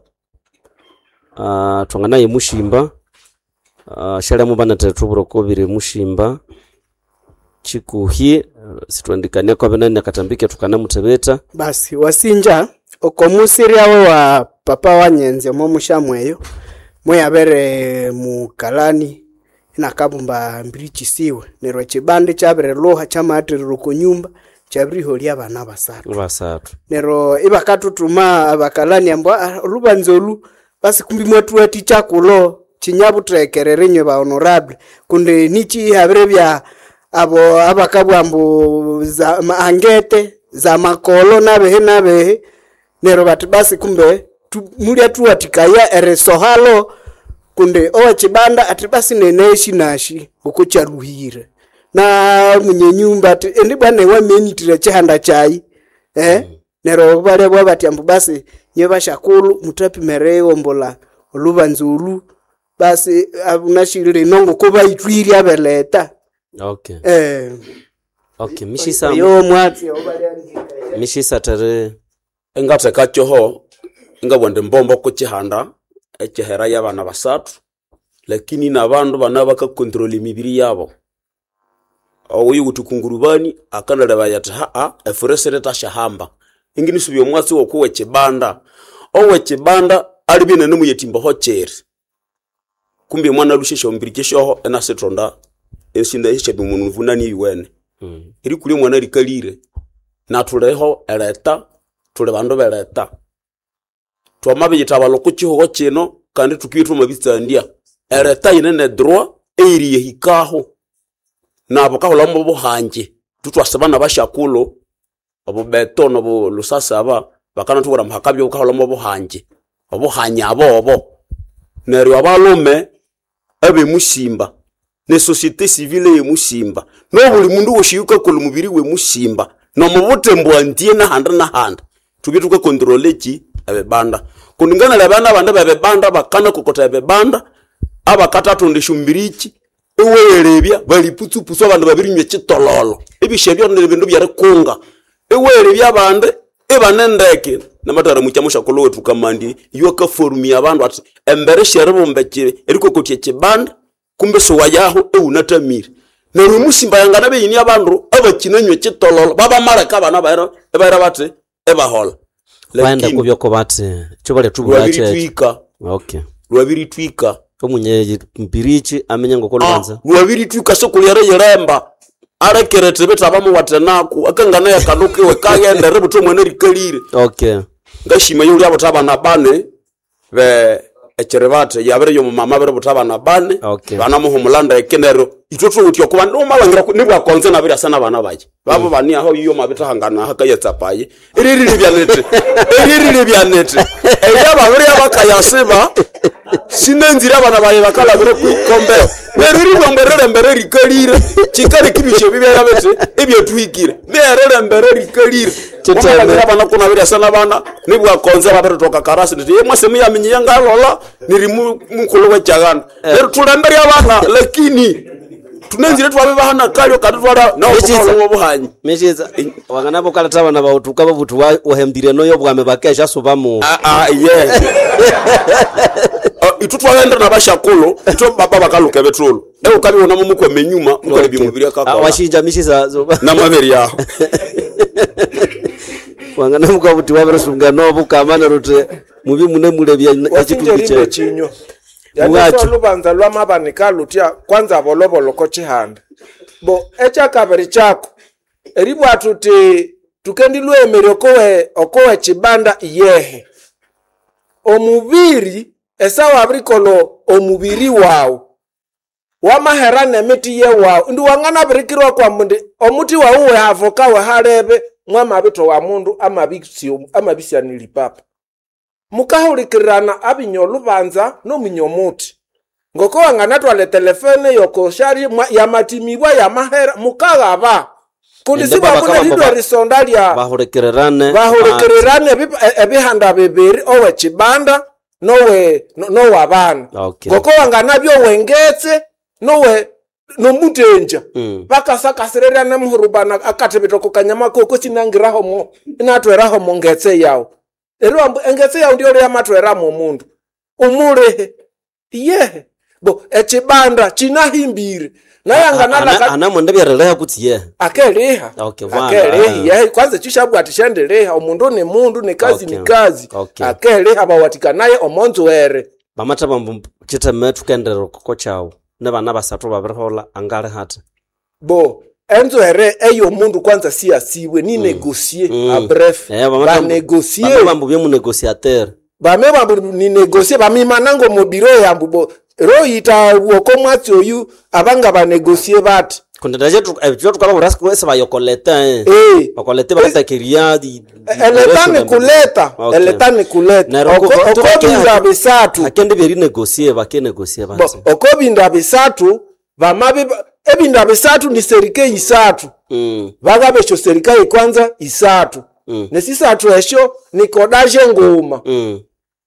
uh, twanganaye mushimba uh, shalemu banathe thuburoko biri mushimba chikuhi eh, sitwandikania kwa benene akatambike tukanamuthebeta Basi wasinja okomusiryawe wa papa wanyenze omo mushamweyo mweyabere mukalani inakabumba mbirichisiwe neryo ekibande kyabirilhuha kyamaatherera oko nyumba kyabiriholya abana basathu basathu neryo ibakathuthuma abakalani ambu "Ah, olubanza olu basi kumbi mwathuwathikya kulo kinyabuthekerere inywe ba honorable kundi niki habire bya abo abakabugha ambu za ma- angete za makolo nabehe nabehe neryo bati basi kumbe tu, mulya thuwathikaya erisohalo kundi owekibanda ati basi neneshi nashi ngoko kyaluhire na munye nyumba ati endi bwana wamenitire ekihanda kyayi eh neryo balebwa bati ambu basi nye bashakulhu muthapimere iwombola olubanza olu basi abunashilile ngoko bayithwirye abeleta okay eh okay mishisa oyo mwatsi mishisa tere engatheka kyoho ingabugha indi mbombo kukyihanda ekyihera y'abana basathu lakini nabandu bana bakakontrol emibiri yabo oyo wuthi kungurubani akanalebaya athi haa efure sirithashahamba inginisubya omwatsi woku wekibanda owekibanda alibya inanemuyetimbaho kyiri kumbi omwana alusya esyombiriki syoho inasithonda esinda esyabya omunuvunani eyuwene mm. erikulya omwana rikalire nathuliho ereta thuli bandu bereta twamabiyithabalha oko kihugho kino kandi thukibya thwamabitsandya ereta yine ne droit eyiriyehikaho nabo kahulhamu obuhangi thuthwasiba nabashakulhu obubeto nobu lusasaba bakanathubwira ambu hakabya bukahulhamu obuhangi obuhanyi abobo neryo abalhume abemusimba ne société civile yemusimba nobuli mundu wosi yukakolha omubiri wemusimba nomubuthembu antie nahandi nahandi thubye thukakontrole ki ebibanda kundi nganalebana nabandi bebibanda bakanakokotha ebibanda abakathathunda esyombiriki iweghelebya bali putsupusu abandu babirinywa ekitololo ebisya byo ni bindu byerikunga iweghelebya abandi ibane ndeke namathara mukya mushakulhu wethu kamandi iyo akaforumia abandu athi embere syeribumba eki- erikokotya ekibanda kumbe siwayaho ewunathamire neryo omusimba yangana beyini abandu abakinanywa ekitololo babamaleka abana baira ebaira bathi ebahola baenda Lakini, kubyoko bathi kyo balethubwira kyekyo lwabiritwika okay lwabiritwika omunye mpirichi amenye ngoko lubanza lwabiritwika sokulya riyiremba alekere thibitha bamuwathenaku akangana yakanukiwe kaghenda ributha omwana rikalire okay ngashima yulya butha abana bane be ekiribathe yabiri yomumama abiri butha abana bane Okay. banamuhumula ndeke neryo ithwe thuwithe okuba umalhangira nibwakonze nabiryasa nabana baye babo bani aho iyo mabithahangana hakayatsapaye eririlibya nithi eririlibya nithi eryababiri abakayasiba sinenzire abana baye bakalabire kwikombero neryo eribwambu erilembere rikalire kikaleka ebisyo bibyaya bithi ebyathuhikire nerilembere rikalire Chiteme. Wamalhangira abana kuna biryasa nabana nibwakonze babiritoka karasi ndithi ye mwase muyaminya ngalola niri mu- mukulhu wekyaganda neryo thulembere abana lakini tunenzire twabibahana kalyo kandi twala Michiza. nawo obuhanyi mishisa wangana bokaletha abana bawuthuka babuthi wa- wahembire noyo bwame bakesha subamu Ah, ah, ye Ah, itu twaghenda nabashakulhu ithwe baba bakaluka ebithulhu eukabibona mumukwama enyuma mukalebya omubiri Ah, akakola washinja mishisa so- namabere yaho wangana mukabuthi wabirisunga nobukama neryo uthi mubi mune mulebya wasinja ekitundu rimbe kyekyo chinywa Yani olubanza lwamabanika lutya kwanza boloboloko chihanda bo ekyakabiri kyako eribwa tuti tukendi lwemere okowe okowe chibanda iyehe omubiri esawa abirikolo omubiri wawu wamahera nemiti yewawu indi wanganabirikirwa kwa mundi omuti wawu wehavoka wehalebe mwamabito wa mundu amabisyanili papa mukahulikirirana abinya olubanza nominya omuti ngoko wanganatwala telefone yokoshari yamatimibwa yamahera mukaghaba kundi sibwakunelidwa erisonda lya bahulikirirane bahulikirirane ebihanda bibiri owe chibanda nowe nowabana okay. ngoko wanganabyo wengetse nowe nomutenja mm. bakasakasirerana muhurubana akathibitoko kanyama koko sinangirahomo inatwerahomo ngetse yawu ero ambu engetse yawu ndiyo yamatweramo omundu umulihe iyehe bo echibanda chinahimbire nayanganalaka anamwenda byereleha kutsi yehe akeliha okay, akeliha yehe kwanza chishabwa atishendeleha omundu ni mundu ni kazi Okay. ni kazi Okay. akeliha bawatikanaye omonzwere bamatha bambu chitheme thukenderera koko kyawu ne bana basathu babirihola angali hati bo enzwere eyomundu kwanza siyasiwe ni negosie Mm. a bref Eh, bamata- banegosie bame bambu byemunegosiatere bame bambu ni negosie bamimanango mubiro yambu bo royita woko mwatsi oyu abanga banegosie bati kundi ndaje ekyo tukababura sibayokoleta Eh. bakolete batakeria eleta ni kuleta eleta ni kuleta okobinda bisatu akende byerinegosie bakenegosie bo basi okobinda bisatu bamabi ebinda bisatu ni serike isatu Mm, bakabe esyo serikali kwanza isatu mm, nesisathu esyo nikodaje nguma mm,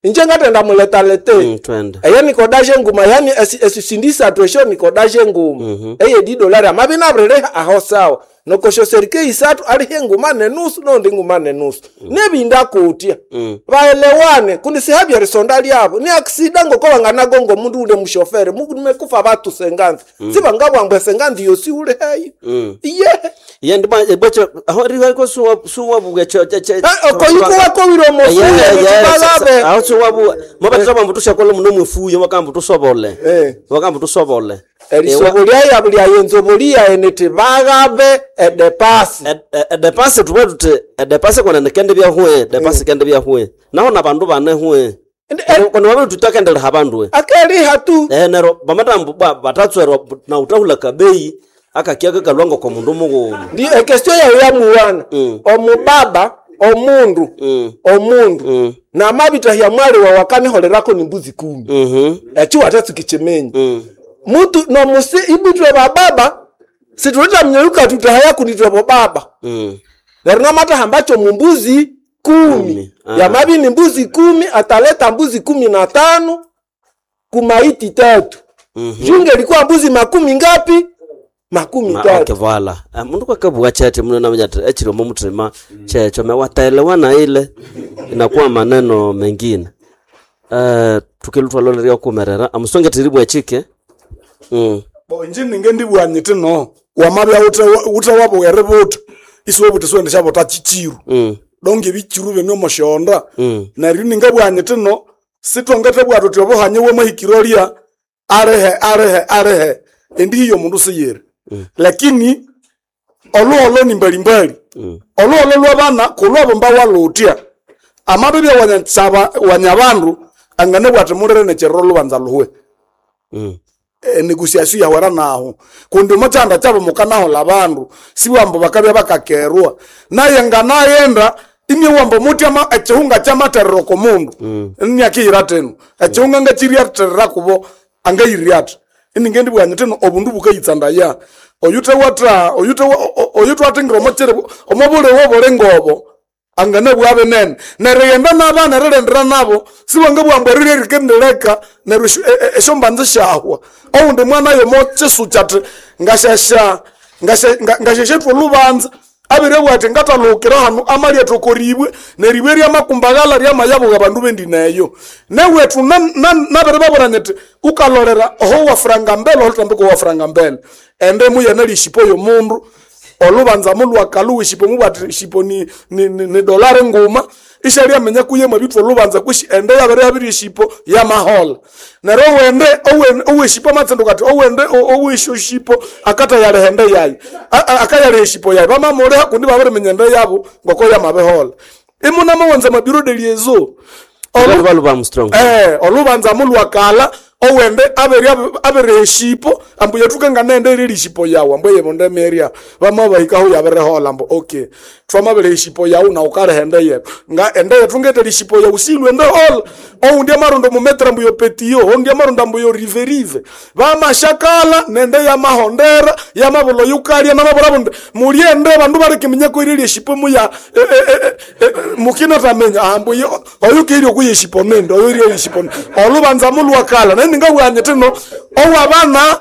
inje ngatenda muletalete mm, twende eyo nikodaje nguma yani esi- esisindi isathu esyo nikodaje nguma Mhm. eye didolari amabi nabirileha aho sawa nokosho serike isathu alihe nguma nenusu nondi nguma nenusu nebinda kutya Mm. baelewane kundi sihabya risonda lyabo ni aksida ngoko banganagonga omundu ule mushofere mumekufa batu senganzi mm. sibangabwambwe senganzi yosi ule heyo Mm. iyehe ye ndiba ebwacho aho riwaiko suwa suwa buge cho che che okoyikuwakowire omofuye nitibalabe aho suwa bu mabatira bambu tushakola muno mwefuyo bakambu tusobole Eh. bakambu tusobole erisobo lyayabo lyayenzobo lyaye niti bagabe edepasi edepasi tuba tuti edepasi kona nikende byahwe depasi kende byahwe naho nabandu bane hwe kona wabiri tutakendeleha bandu we akeliha tu eh nero bamatambu ba batatswerwa na utahula kabeyi akakia kakalwanga kwa mundu mughuma ndi ekestio yayo yamuwana Mm. omubaba omundu Mm. omundu Mm. namabitahya mwali wawe akaniholerako ni mbuzi kumi mhm ekyo watatsukichimenyi mm mutu nomusi ibwitwe bababa situleta mnyeuka tutahaya kunitwe bobaba mm neryo namatahambacho mumbuzi kumi Kumi, ah. yamabi ni mbuzi kumi ataleta mbuzi kumi na tano kumaiti tatu mhm junge ilikuwa mbuzi makumi ngapi makumi Ma, tatu okay, voila. Ah, mundu kwakabugha chete muno namanya ati echiro mumutima checho mewataelewa na ile inakuwa maneno mengine eh tukilutwa loleria kumerera amusonge tiribwa chike mm bo inji ninge ndibwanyite no wamabya ute ute wabughere buta isiwe buti siwende syabuta chichiru mm donge ebichiru bene omushonda mm neryo ningabwanyite no sitongete bwatu uti obuhanye bwamahikiro lya alihe alihe alihe endi hiyo omundu siyiri lakini oluholo ni mbalimbali mm oluholo lwabana kulwabo mbawalutya amabibya wanyasaba wanyabandu angane bwati mulire nekyerero lubanza luhwe mm enegosiasio yawera naho kundi omukyanda kyabo mukanahola abandu siwambo bakabya bakakerwa naye nganayenda imye wambo mutyama ekihunga kyamaterero komundu nniakiyira tenu ekihunga ngakiryaterera kubo angayirya athi iningendi bwanyu tenu obundu bukayitsandaya oyuthe watra oyuthe oyuthe wathingira omokyere omobuliwo obulinga obo angane bwabe nene neryo yenda nabana erilendera nabo siwangabwamba erirya rikendileka neryo esyo- e- e- esyombanza syahwa owundi mwana yomokyisukya athi ngashasha ngasha- nga- ngashashetwa olubanza abiribwa ati ngatalhukira hanu amalyethu okoribwe neribwe ryamakumbagala ryamayabuga abandu bendineyo newethu nabiribabura nyiti ukalolera oho wafuranga mbele olutambiko wafuranga mbele ende muyana lyeshipo yomundu olubanza mulwakalu ishipo mubwati ishipo ni, ni, ni, ni dolari nguma Ishali amenya kuye mwabitwa olubanza kwishi ende yabere yabiri eshipo yamahola. Neryo owende owen- oweshipo amatsinduka ati owende o- owesho shipo akatayaleha ende yayi. A- a- Akayaleha eshipo yayi. Bamamuleha kundi babiriminya ende yabo ngoko yamabihola. Imuna mawanza mabiro de liezo. Olu- Baluba Armstrong. Eh, olubanza mulwakala owende abere abere eshipo ambu yathuka nende eriri eshipo yawu ambu eyebonde meria bamabahikaho yabirehola ambu okay twamabere eshipo yawu na ukaleha ende yetu nga ende yetu ngetera eshipo yawu silwe ende hola oundi amarondo mumetra ambu yopetiyo oundi amarondo ambu yoriverive bamashakala nende yamahondera yamabulo yukalya namabula bunde mulyende bandu barikiminyako eriri eshipo muya e, e, e, e, mukinatamenya ambu yo- oyu kiri okuyeshipo nende oyu iri eshipo nende olubanza mulwakala naye ningabwanye tino owabana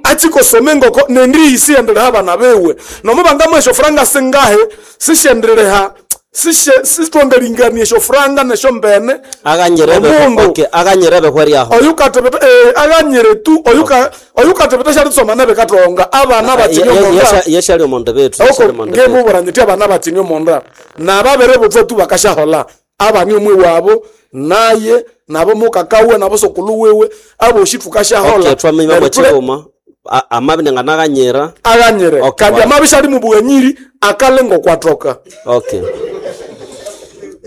achikosome ngoko nendiyisi endelea abana bewe nomubanga mwesho franga singahe sishendelea sishe sitwangalingania esho franga nesho mbene Aganyirebe Omundu. okay, aganyirebe hweriaho. oyu katebeta eh, aganyire tu oyu ka oyu katebeta shalitsoma nebe katonga abana bakini omonda Yeshali omonde betu. oko yeshali omonde betu. ngebuburanye ti abana bakini omonda nababere butwa tu bakashahola abani omwe wabo naye nabo mukakawe nabo sokulu wewe aboshi tukashahola Okay, twamenya Neryo tule- mwachigoma. Amabi nganaganyira. aganyire Okay, kandi wa- amabishali mubwanyiri akalengo kwatoka Okay.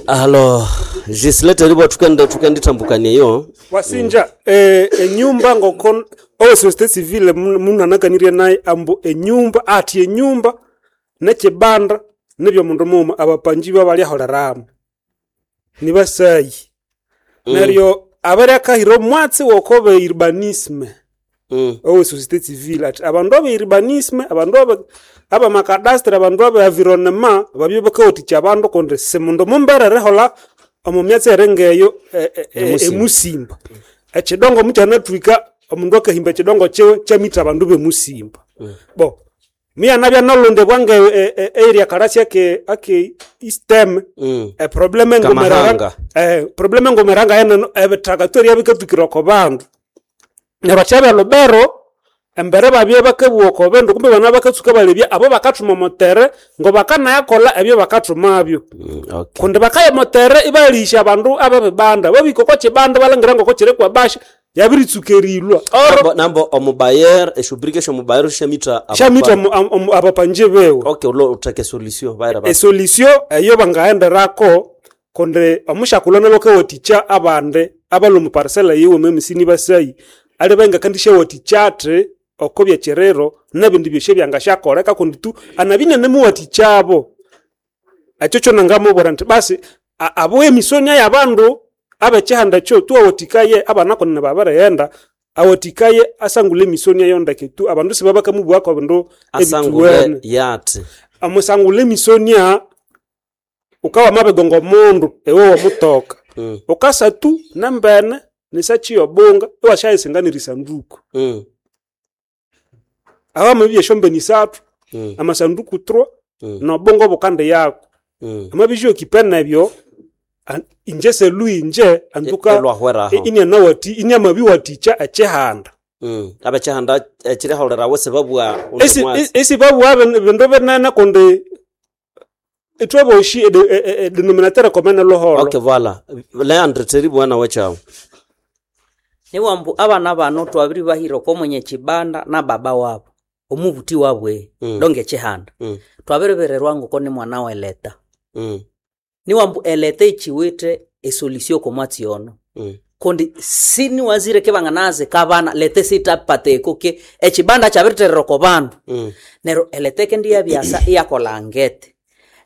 Alo, Gislete ribo tukende tukenditambukanie yo. Wasinja eh, enyumba ngoko owe societe civile mun- munanakanirye naye ambu enyumba ati enyumba nekibanda nibyo mundu muma abapanji babalyaholeramu nibasayi mm. Neryo abaryakahira omwatsi wokobe urbanisme Mm. owe societe civile ati abandu abe urbanisme abandu abe abamakadastre abandu abe environnement babye bakawathikya abandu kundi simundu mumbere eriholha omu myatsi eringeyo e- e- e- Emusimba. emusimba ekidongo mukyanathwika omundu akahimba ekidongo kyiwe kyamitha abandu bemusimba bo miyanabya nalondebwa nge e- e- area kalasi ake ake istem Mm. eproblem engomerera Kamahanga. eh problem engomeranga yeneno ebithaka tweria bikathukira oko bandu neryo akyabya lubero embere babye bakabugha oko bindu kumbe bana bakatsuka balebya abo bakathuma omutere ngo bakanayakolha ebyo bakathumabyo Mm, okay. kundi bakaya omutere ibalisha abandu abebibanda babika oko kibanda balangira ngoko kiri kwabasha yabiritsuka erilwa oro Nambo, nambo omubayer eshubrika eshomubayer shamita shamita abapanji bewe Okay, ulo utake solution bayira ba. esolution eyo bangayenderako kundi omushakulana lwakawathikya abandi abalwa omu parcela yiwuma emisini basayi ali bangakandishawathikya athi oko byekiriro nebindi byosi ebyangasyakoleka kundi tu anabinyanemuwathikyabo ekyo kyo nangamubwira nti basi a- abo emisonia yabandu abekihanda kyo tuwawathikaye abana kunene babirighenda awathikaye asangule emisonia yondeke tu abandu sibabakamubwako bindu Asangule ebithuwene yati. amusangula emisonia ukawa mabigonga omundu ewe wamutoka Mm. ukasatu nembene nisachi yobunga iwashayisinganira isanduku Mm. awamabibya esyombene isathu Mm. amasanduku tro Mm. nobunga obukandi yako Mm. amabisyokipe nebyo an- inje selu inje antuka Elwahweraho. inianawati iniamabiwathikya ekihanda Mm. Abechihanda ekiriholerawo sibabwa undi Esi- mwatsi. esibabugha bin- bindu binene kundi ithweboshi edenominatere komene luholo Okay, voilà. Leandre teri bwana wechawo. niwambu abana bano twabiri bahira oko mwenye kibanda na baba wabo omubuti wabwe Mm. donge ekihanda Mm. twabiribererwa ngoko ni mwana weleta Mm. niwambu eleta ichiwite esolution komwatsi ono Mm. kundi siniwazire kebanganaze kabana lete sitapateko ke ekibanda kyabiriterera oko bandu Mm. neryo eleta kendi yabyasa iyakola ngete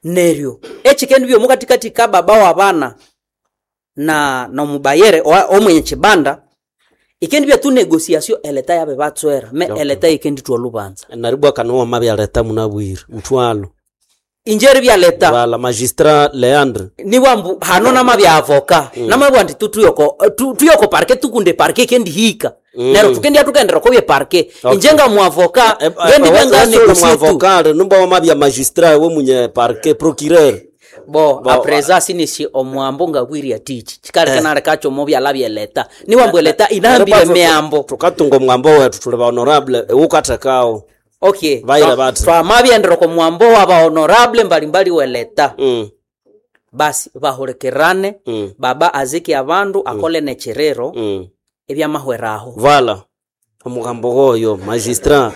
neryo ekikendi byomukatikati ka baba wa bana na nomubayere owa- omwenye kibanda ikendi byatu negosiasio eleta yabe batswera me Okay. eleta ikendi twa lubanza Naribwa kanowa mabyaleta munabwire mutwalo. injeri byaleta Voilà, magistrat Leandre. niwambu hano namabya avoka mm. namabwa ndi tu tuyoko tu, tuyoko parke tukunde parke kendi hika mm. neryo tukendi atukendera kobye parke Okay. inje nga muavoka ngendi bya negosie tu Mwavokale numba wamabya magistrat we munye parquet procureur. bo Bo- apreza sinisi omwambo ngabwirya tichi chikaleka nalekacho mobyala byeleta niwambu eleta inahambire Naribwa tu- miambo Tukatunga omwambo wetu tuli ba honorable ewukathekao. okay Vaira Twa- bati. twamabyendera ko mwambo wa ba honorable mbalimbali weleta Mm. Basi bahulikirane Mm. baba azike abandu akole nekiriro Mm. ebyamahweraho. Vala omugambo goyo magistrat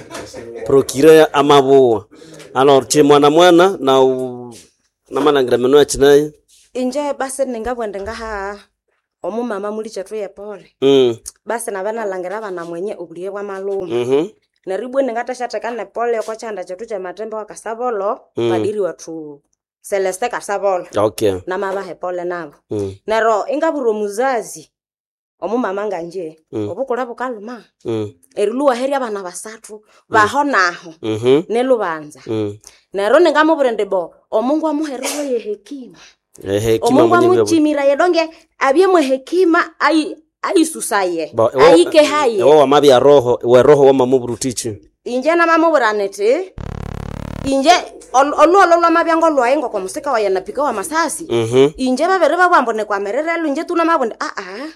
procureur amabuwa alors che mwana mwana na u- namalangira meno yakinaye Inje basi ningabwende ngaha omumama muli chethu yepole mm. basi nabanalhangira abana mwenye obuliye bwamaluma mhm neryo ibwa ningathasyateka nepole oko kyanda kyethu kyematembe wa Kasabolo Mm. padiri wethu Celeste Kasabolo okay namabaha epole nabo mm. neryo ingabwira omuzazi omumama nganje Mm. obukule bukaluma Mm. erilhuwaherya abana basathu baho naho Mhm. nelubanza Mm. neryo ningamubwira indi bo omungu amuhererwe hekima Ehe, hekima omungu mwenye bya- amuchimira yedonge abyemwe hekima ayi ayisusaye Ba- ewo- ayikehaye ewo wamabya roho we roho wamamubwira inje namamubwira niti inje ol- olhuholho lwamabya ngolwayi ngokomusika waye napika wa masasi Mhm. inje babere babwambu nikwamirire inje tunamabwa aa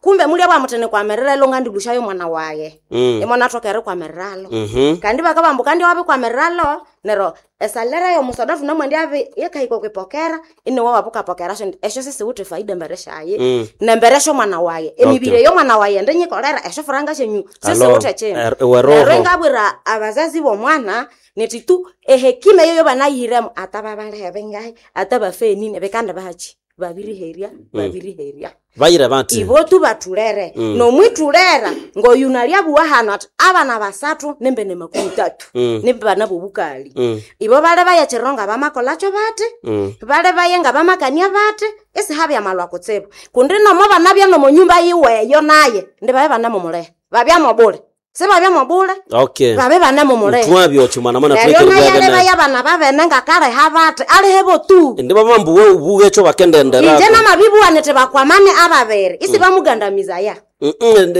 kumbe mulya bwamuthi nikwamirire ngandilushayo mwana waye Mm. imona athoka erikwamiriralo Mhm. kandi bakabambu kandi wabikwamiríralo neryo esalere yomusoda tunamwendi abi yekahika okwipokera iniwe wabukapokera syo esyo sisiwithe faida embere syaye Mm. nembere syomwana waye emibiri Okay. eyomwana waye ndinyikolera esyo furanga syenyu Alo, sisiwithe kindu er- ewe roho. neryo ingabwira abazazi bomwana niti tu ehekima eyo yobanayihiremo ata babalebe ngahi ata bafenine bikandi bahachi babiriherya babiriherya bayire bati ibo tu batulere Mm. nomwitulera ngoyunalyabuwa hano ati abana basathu nembe ne makumi tatu Mm. nembe bana bobukali Mm. ibo bale bayachiriro nga bamakolakyo bati Mm. bale baye nga bamakania bati isihabya malwa kutsibu kundi nomo banabya nomonyumba yiweyo naye ndi babe banamumuleha babyamobule sibabyamobule okay babe banamumuleha twabyo chi mwana mwana neryo twekere naye bwabene alebaya bana babene ngakaleha bati alihebo tu ndi bamambu we ubuge cho bakendendera inje namabibuwanete bakwamane ababere isi bamugandamizaya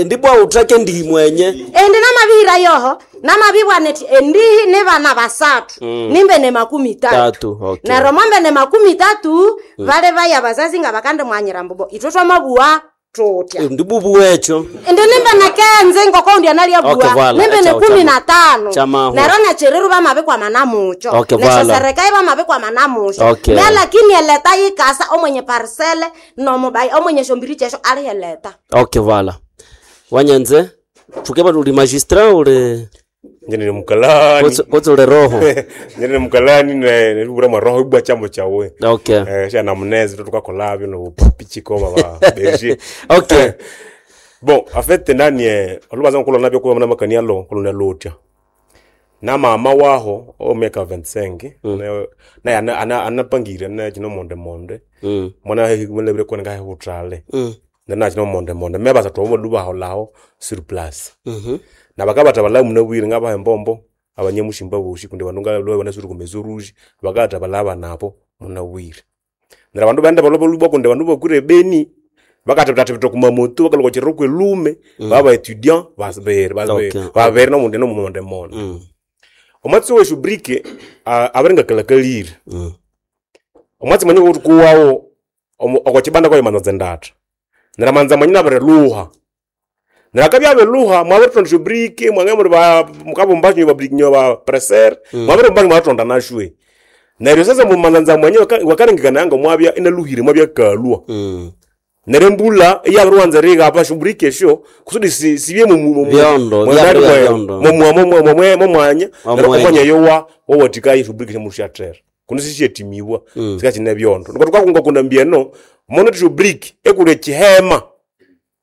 ndibwa uthake ndihi mwenye endi namabihira yoho namabibwaneti endihi ni bana basathu Mm. nimbe ne makumi tatu tatu okay neryo mwambe ne makumi tatu vale vaya bazazi nga bakandi mwanyira mbubo ithwe twamabuwa tutya ndibubu wecho indi nimbe nekenze ngokoundi analyabuwa Okay, voilà. nimbe ne Echa- kumi chama- na tano chamahu. neryo nechireru bamabikwamana mucho Okay, voilà. nesyosereka ibamabikwamana mucho Okay. me lakini eleta yikasa omwenye parisele nomubai omwenye shombiri chesho aliheleta okay vala wanyanze tukeba uli magistrat uli Njye ni mukalani kotse uli roho njye ni mukalani ne nilibura mwa ibwa chambo chawe okay eh sha namunezi tukakolabyo no pichiko baba berger okay bon en fait nani eh olubaza nkulona nabyo kuba na makania lo kulona lotya na mama waho o miaka vingt-cinq mm. naye ana- ana- anapangire na chino monde monde mm. mwana mulebire kone ngahe butrale Mm. nana chino monde monde me basa tomo duba holaho sur place Mhm. na bakabata bala mune bwire ngaba embombo abanyemushimba boshi kundi bandu ngalo bana suri kumezo rouge bakata balaba nabo muna bwire nera bandu bende balobo lubwa kundi bandu bakure beni bakata tatibito kumamoto bakaloko chiro kwelume Mm. baba étudiant basbere basbere Okay. babere no munde no monde monde Mm. omwatsi weshu brike abaringa kalakalire Mm. omwatsi mwenye kuti kuwawo okochibanda kwayo manza ndata nera manza mwenye nabireluha nera kabya beluha mwabiritonda shu brike mwange muri ba mukabumba nyo ba brike nyo ba presser Mm. mwabirumba mwatonda nashwe neryo sasa mumanza mwenye wakarengekana yanga mwabya inaluhire mwabya kalwa Mm. nere mbula iyabiriwanza riga shu brike sho kusudi si- sibye mu- mu- mu- Byondo, mu- byabiri mu- byondo. mu- mu- mu- mu- mu- mumwanya Omwanya. omwanya yowa wowatika ishubrike shemushatera kuno sishetimiwa Mm. sikachine byondo niko tukakunga kuna mbieno mono tishubrike ekule chihema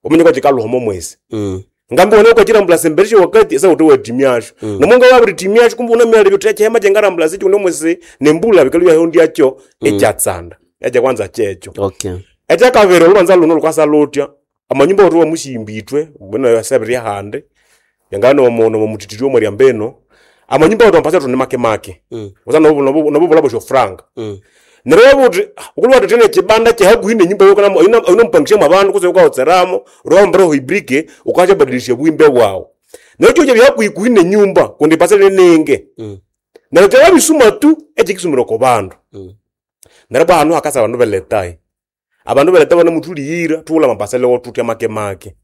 omenye kwachikaluhomo mwesi Mm. ngambi wone kwachirambula sembereshe wakati esa kuti wetimyasho mm. nomonga wabiritimyasho kumbe unamyala byote chihema chengarambula sichi kuno mwesi nembula bikalu yahondi yacho mm. echatsanda echa kwanza checho okay ekyakabiri olubanza luno lukwasa lutya amanyumba oti wamushimbitwe bwena sebiri hande yangana nomutitiri omwe lyambeno amanyumba oti wampasa tuni make make Mm. usa nobubula bosho franga Mm. neryo buti ukulwa tene chibanda chehakuhi nenyumba yo kana ino mpangisha mwabantu kuse ukaotseramo rwambara hoibrike ukachabadilisha bwimbe bwawo neryo kyo byakuhi nenyumba kundi pasele nenge Mm. neryo kyababisuma tu ekikisumira ku bandu Mm. neryo bwa hanu hakasa abandu beletai abandu beleta bana mutuliyira tuwula mapasele wotutya make make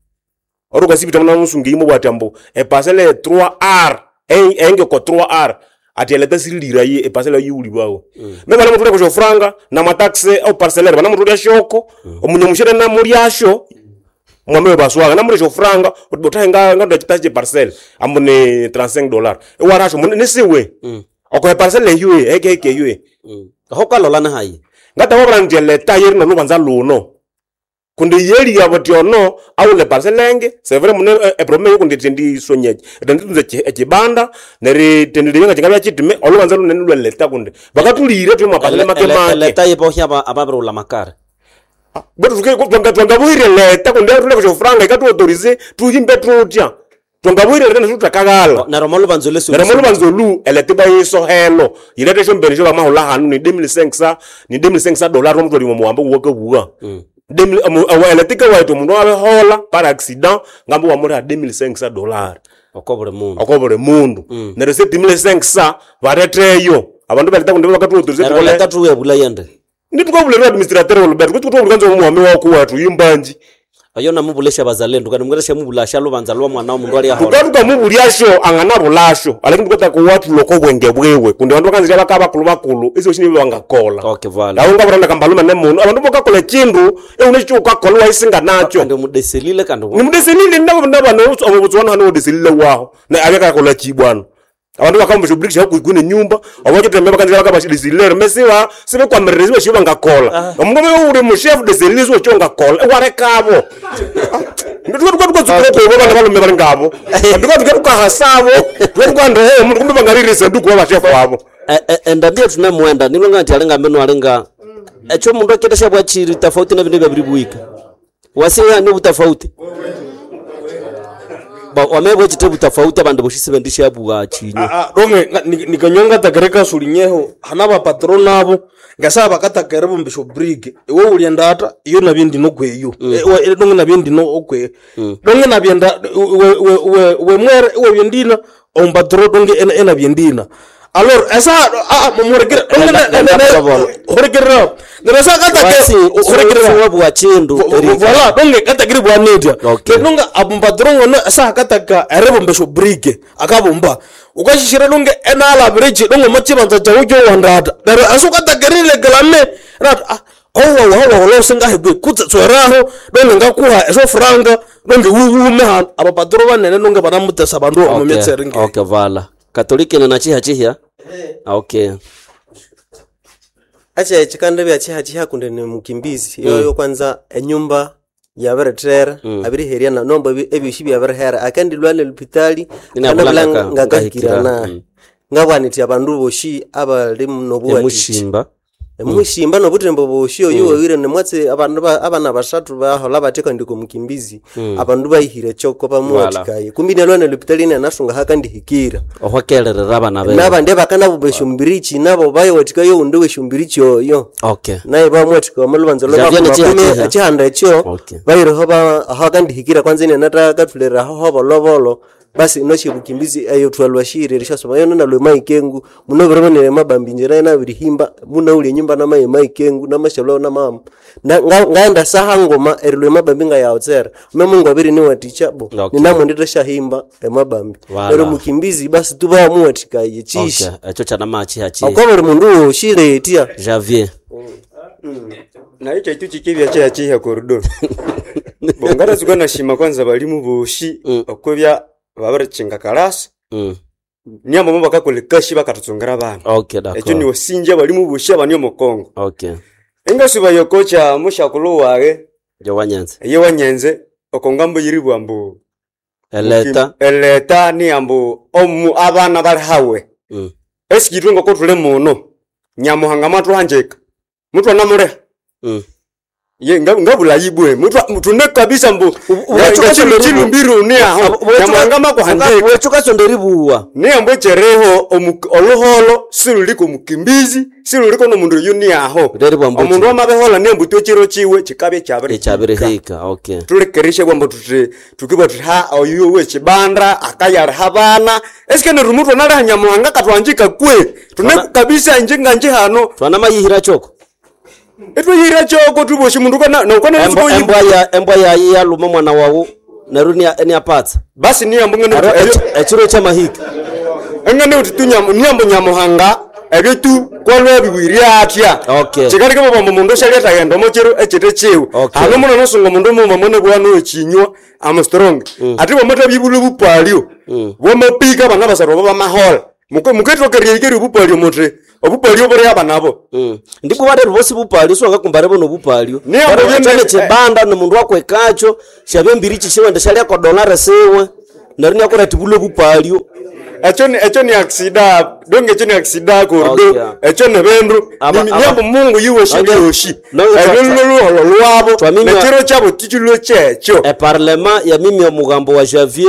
ori ukasipita muna musungu imo bwati ambu epasele three R engeko three R ati eleta siriliraye eparcela yiwulibawo me banamuthulya kusyo franga namataxe au parcellaire banamutulya shoko omunyamushere namulyasho mwame baswaga namulya syo franga utahenga ngando chitasi che parcel ambu ni trente-cinq dollars ewarasho mune nisiwe okohe parcel eyue eke eke eyue aho kalola nahayi ngata wabura nti eleta yeri nolubanza luno kundi yeli yabo ono awule parcel enge c'est vrai mune eproblème kundi tendi sonyeje tendi tunze ekibanda neri tendi linga chingabya chitime olubanza lunene lweleta kundi bakatulire twe mapasele make make eleta yibohya ababirula makara bwetu twangabuhire leta kundi atule kushofranga ikatu autorize tuhimbe tutya twangabuhire leta nesutrakagala neryo molubanza lesu neryo molubanza olu eleta ibayisohelo yileta esyombene syobamahula hanu ni deux mille cinq cents ni deux mille cinq cents dollars omutwali muwambo wuwakabuwa eletika waitu omundu abehola par accident ngambo wamuliha deux mille cinq cents dollars oko buli mundu oko buli mundu neryo sept mille cinq cents bareteyo abandu baleta kundi bakatu autorize neryo leta tuwebula yende nditukabulera administrateur Roberto kuti kuti omuhami wako watu yimbanji ayo namubulesha bazalendo kandi mungere shamubulasha lubanza lwa mwana omundu ali ahola tukatukamubulyasho anganabulasho alakini tukataka watuloko obwenge bwewe kundi abandu bakanzirya bakaba bakulu bakulu isyo shini bangakola okay vala awo ngabulanda kambalume nemundu abandu bokakola ekindu eune ekyo ukakola waisinga nakyo kandi mudeselile kandi nimudeselile nabana obutswana hano udeselile waho na abekakola chibwana abandu bakambusha obulikisha kuikuna enyumba obakitembe bakanzira bakabashidesilile mesiba sibekwamirire sibe shiba ngakola omundu oyo uli mushefu deselile siwe kyo ngakola ewarekabo nditukatukatsukuko bana balume bali ngabo ndituka tukahasabo tukatukanda he mundu kumbe bangaririsa nduku babashefu abo endambia tunamuenda nilonga nti alinga mbeno alinga ekyo mundu akendesha bwachiri tofauti na bindu byabiri wasiya ni butafauti ba wamebwa chite butafauti abandu boshisi bendisha bwa chinyo donge nikanyonga takereka sulinyeho hana bapatro nabo ngasaba bakatakere bumbisho brig iwe ulienda ata iyo nabindi nokweyo donge nabindi no okwe donge nabyenda we we we we mwere we byendina ompatro donge ena ena byendina alors esa ah murekere donge horekere neresa katake horekere bwa chindu voilà donge katakiri bwa nedia donge abumpatro ngono esa kataka erebumbisho brig akabumba ukashishira donge enalabireki donge machibanza chawo kyowandata neryo asukatakerile kalame nati ah owa wawa wala kutse tsweraho donge ngakuha esyo franga donge wuwume hano abapatro banene donge banamutesa bandu omu myetseri nge okay vala katoliki na chiha chihya okay acha ekikanda bya chiha chiha kundi ni mukimbizi yoyo kwanza enyumba yabiritera mm. abiriherya na nomba ebyoshi byabirihera akandi lwale lupitali Inabula ngaka- ngakahikirana mm. ngabwaniti abandu boshi abali nobuwatichi emushimba emushimba nobutembo boshi oyu wawire nemwatsi abandu ba- abana basathu bahola bathi kandi komukimbizi Mm. abandu bahihire choko bamuwatikaye kumbi nelwana lupitali nenasunga hakandihikira ohwakererera abana bebe nabandi abakanabumba esyombirichi nabo bayowatikayo undi wesyombirichi oyo okay naye bamwathika omalubanza Javier ni chiha chiha. echihanda ekyo Okay. bayireho ahakandihikira kwanza inenatakathulira aho hobolobolo basi inosyebukimbizi eyo thwalwashire erishasoma yono nalwe maikengu muno biribonere mabambi njira nabirihimba munaulya enyumba namaye maikengu namashalwa namama Na- nga- ngaenda saha ngoma erilwe mabambi ngayawutsera memungu abiri niwaticha bo Okay. ninamwendeteshahimba emabambi Wala. neryo mukimbizi basi tubamuwathikaye chishi okay ekyo kyanama chiha chiha okwa buli mundu woshiretya Javier nayo kyaitu kikibya kyakiha koridoro bongaratsuka nashima kwanza balimu boshi okwebya babirikinga kalasi mm. niamamo bakakola ekashi bakathutsungera abana okay d'accord ekyo niwasinja balimu boshi abani omukongo okay engasuba yokocha mushakulhu waghe jowanyanza eye wanyenze okongambo yiribwa ambu eleta eleta ni ambu omu abana bali hawe mm. esikitwe ngoko thuli muno nyamuhanga mwathuhanjika muthu anamuliha mm. ye nga- ngabulayi bwe muthu tune kabisa mbu chilumbiro ni aho nyamuhanga makuhanjika wechukasonderibuwa niyambo echereho omu- oluholo siluliko mukimbizi siluliko nomundu oyu ni aho Reribwa mbu omundu amabehola niyambu twechiro chiwe chikabya kyabirihika ekyabirihika okay tulekerishe bwambo tuti tukibwa tuti ha oyu wechibanda akayaliha abana esike neryo muthu analiha nyamuhanga katwanjika kwe tune kabisa inje nganje hano twanamayihira choko itweyira choko tuboshi mundu kana nokana Embwa- embwa ya embwa yayi yaluma mwana wawu neryo nia- niapatsa basi niyambo ngene ekiro kyamahika Engane uti tu nyamu nyambo nyamuhanga ebyo tu kwalwa biwiri atya. Okay. Chikalike baba mundu shaleta yendo mochero echete chiwe. Hano muno nosunga mundu muma mwene bwanu echinywa am strong. Ati bamata bibulu bupalio. Bwamapika bana basarwa bamahola. Muketokeria ikeri obupalio muti. Obupalio buri abanabo. Ndipo barero bosi bupalio so ngakumbare bono bupalio. Niyo Chane chibanda ni mundu wakwekacho shabye mbiri chishiwende shalya dollar siwe. Neryo niakora tibulo bupalio. Ekyo ni ekyo ni aksida, donge ekyo ni aksida kordo. Okay. Ekyo ni bindu. Aba- Ni- aba- Nyambo Mungu yiwe shibyoshi. Nonge- Ebyo luluholo lwabo. Twaminywa- Nekiro kyabo tikilo kyekyo. Eparlema ya mimi omugambo wa Javier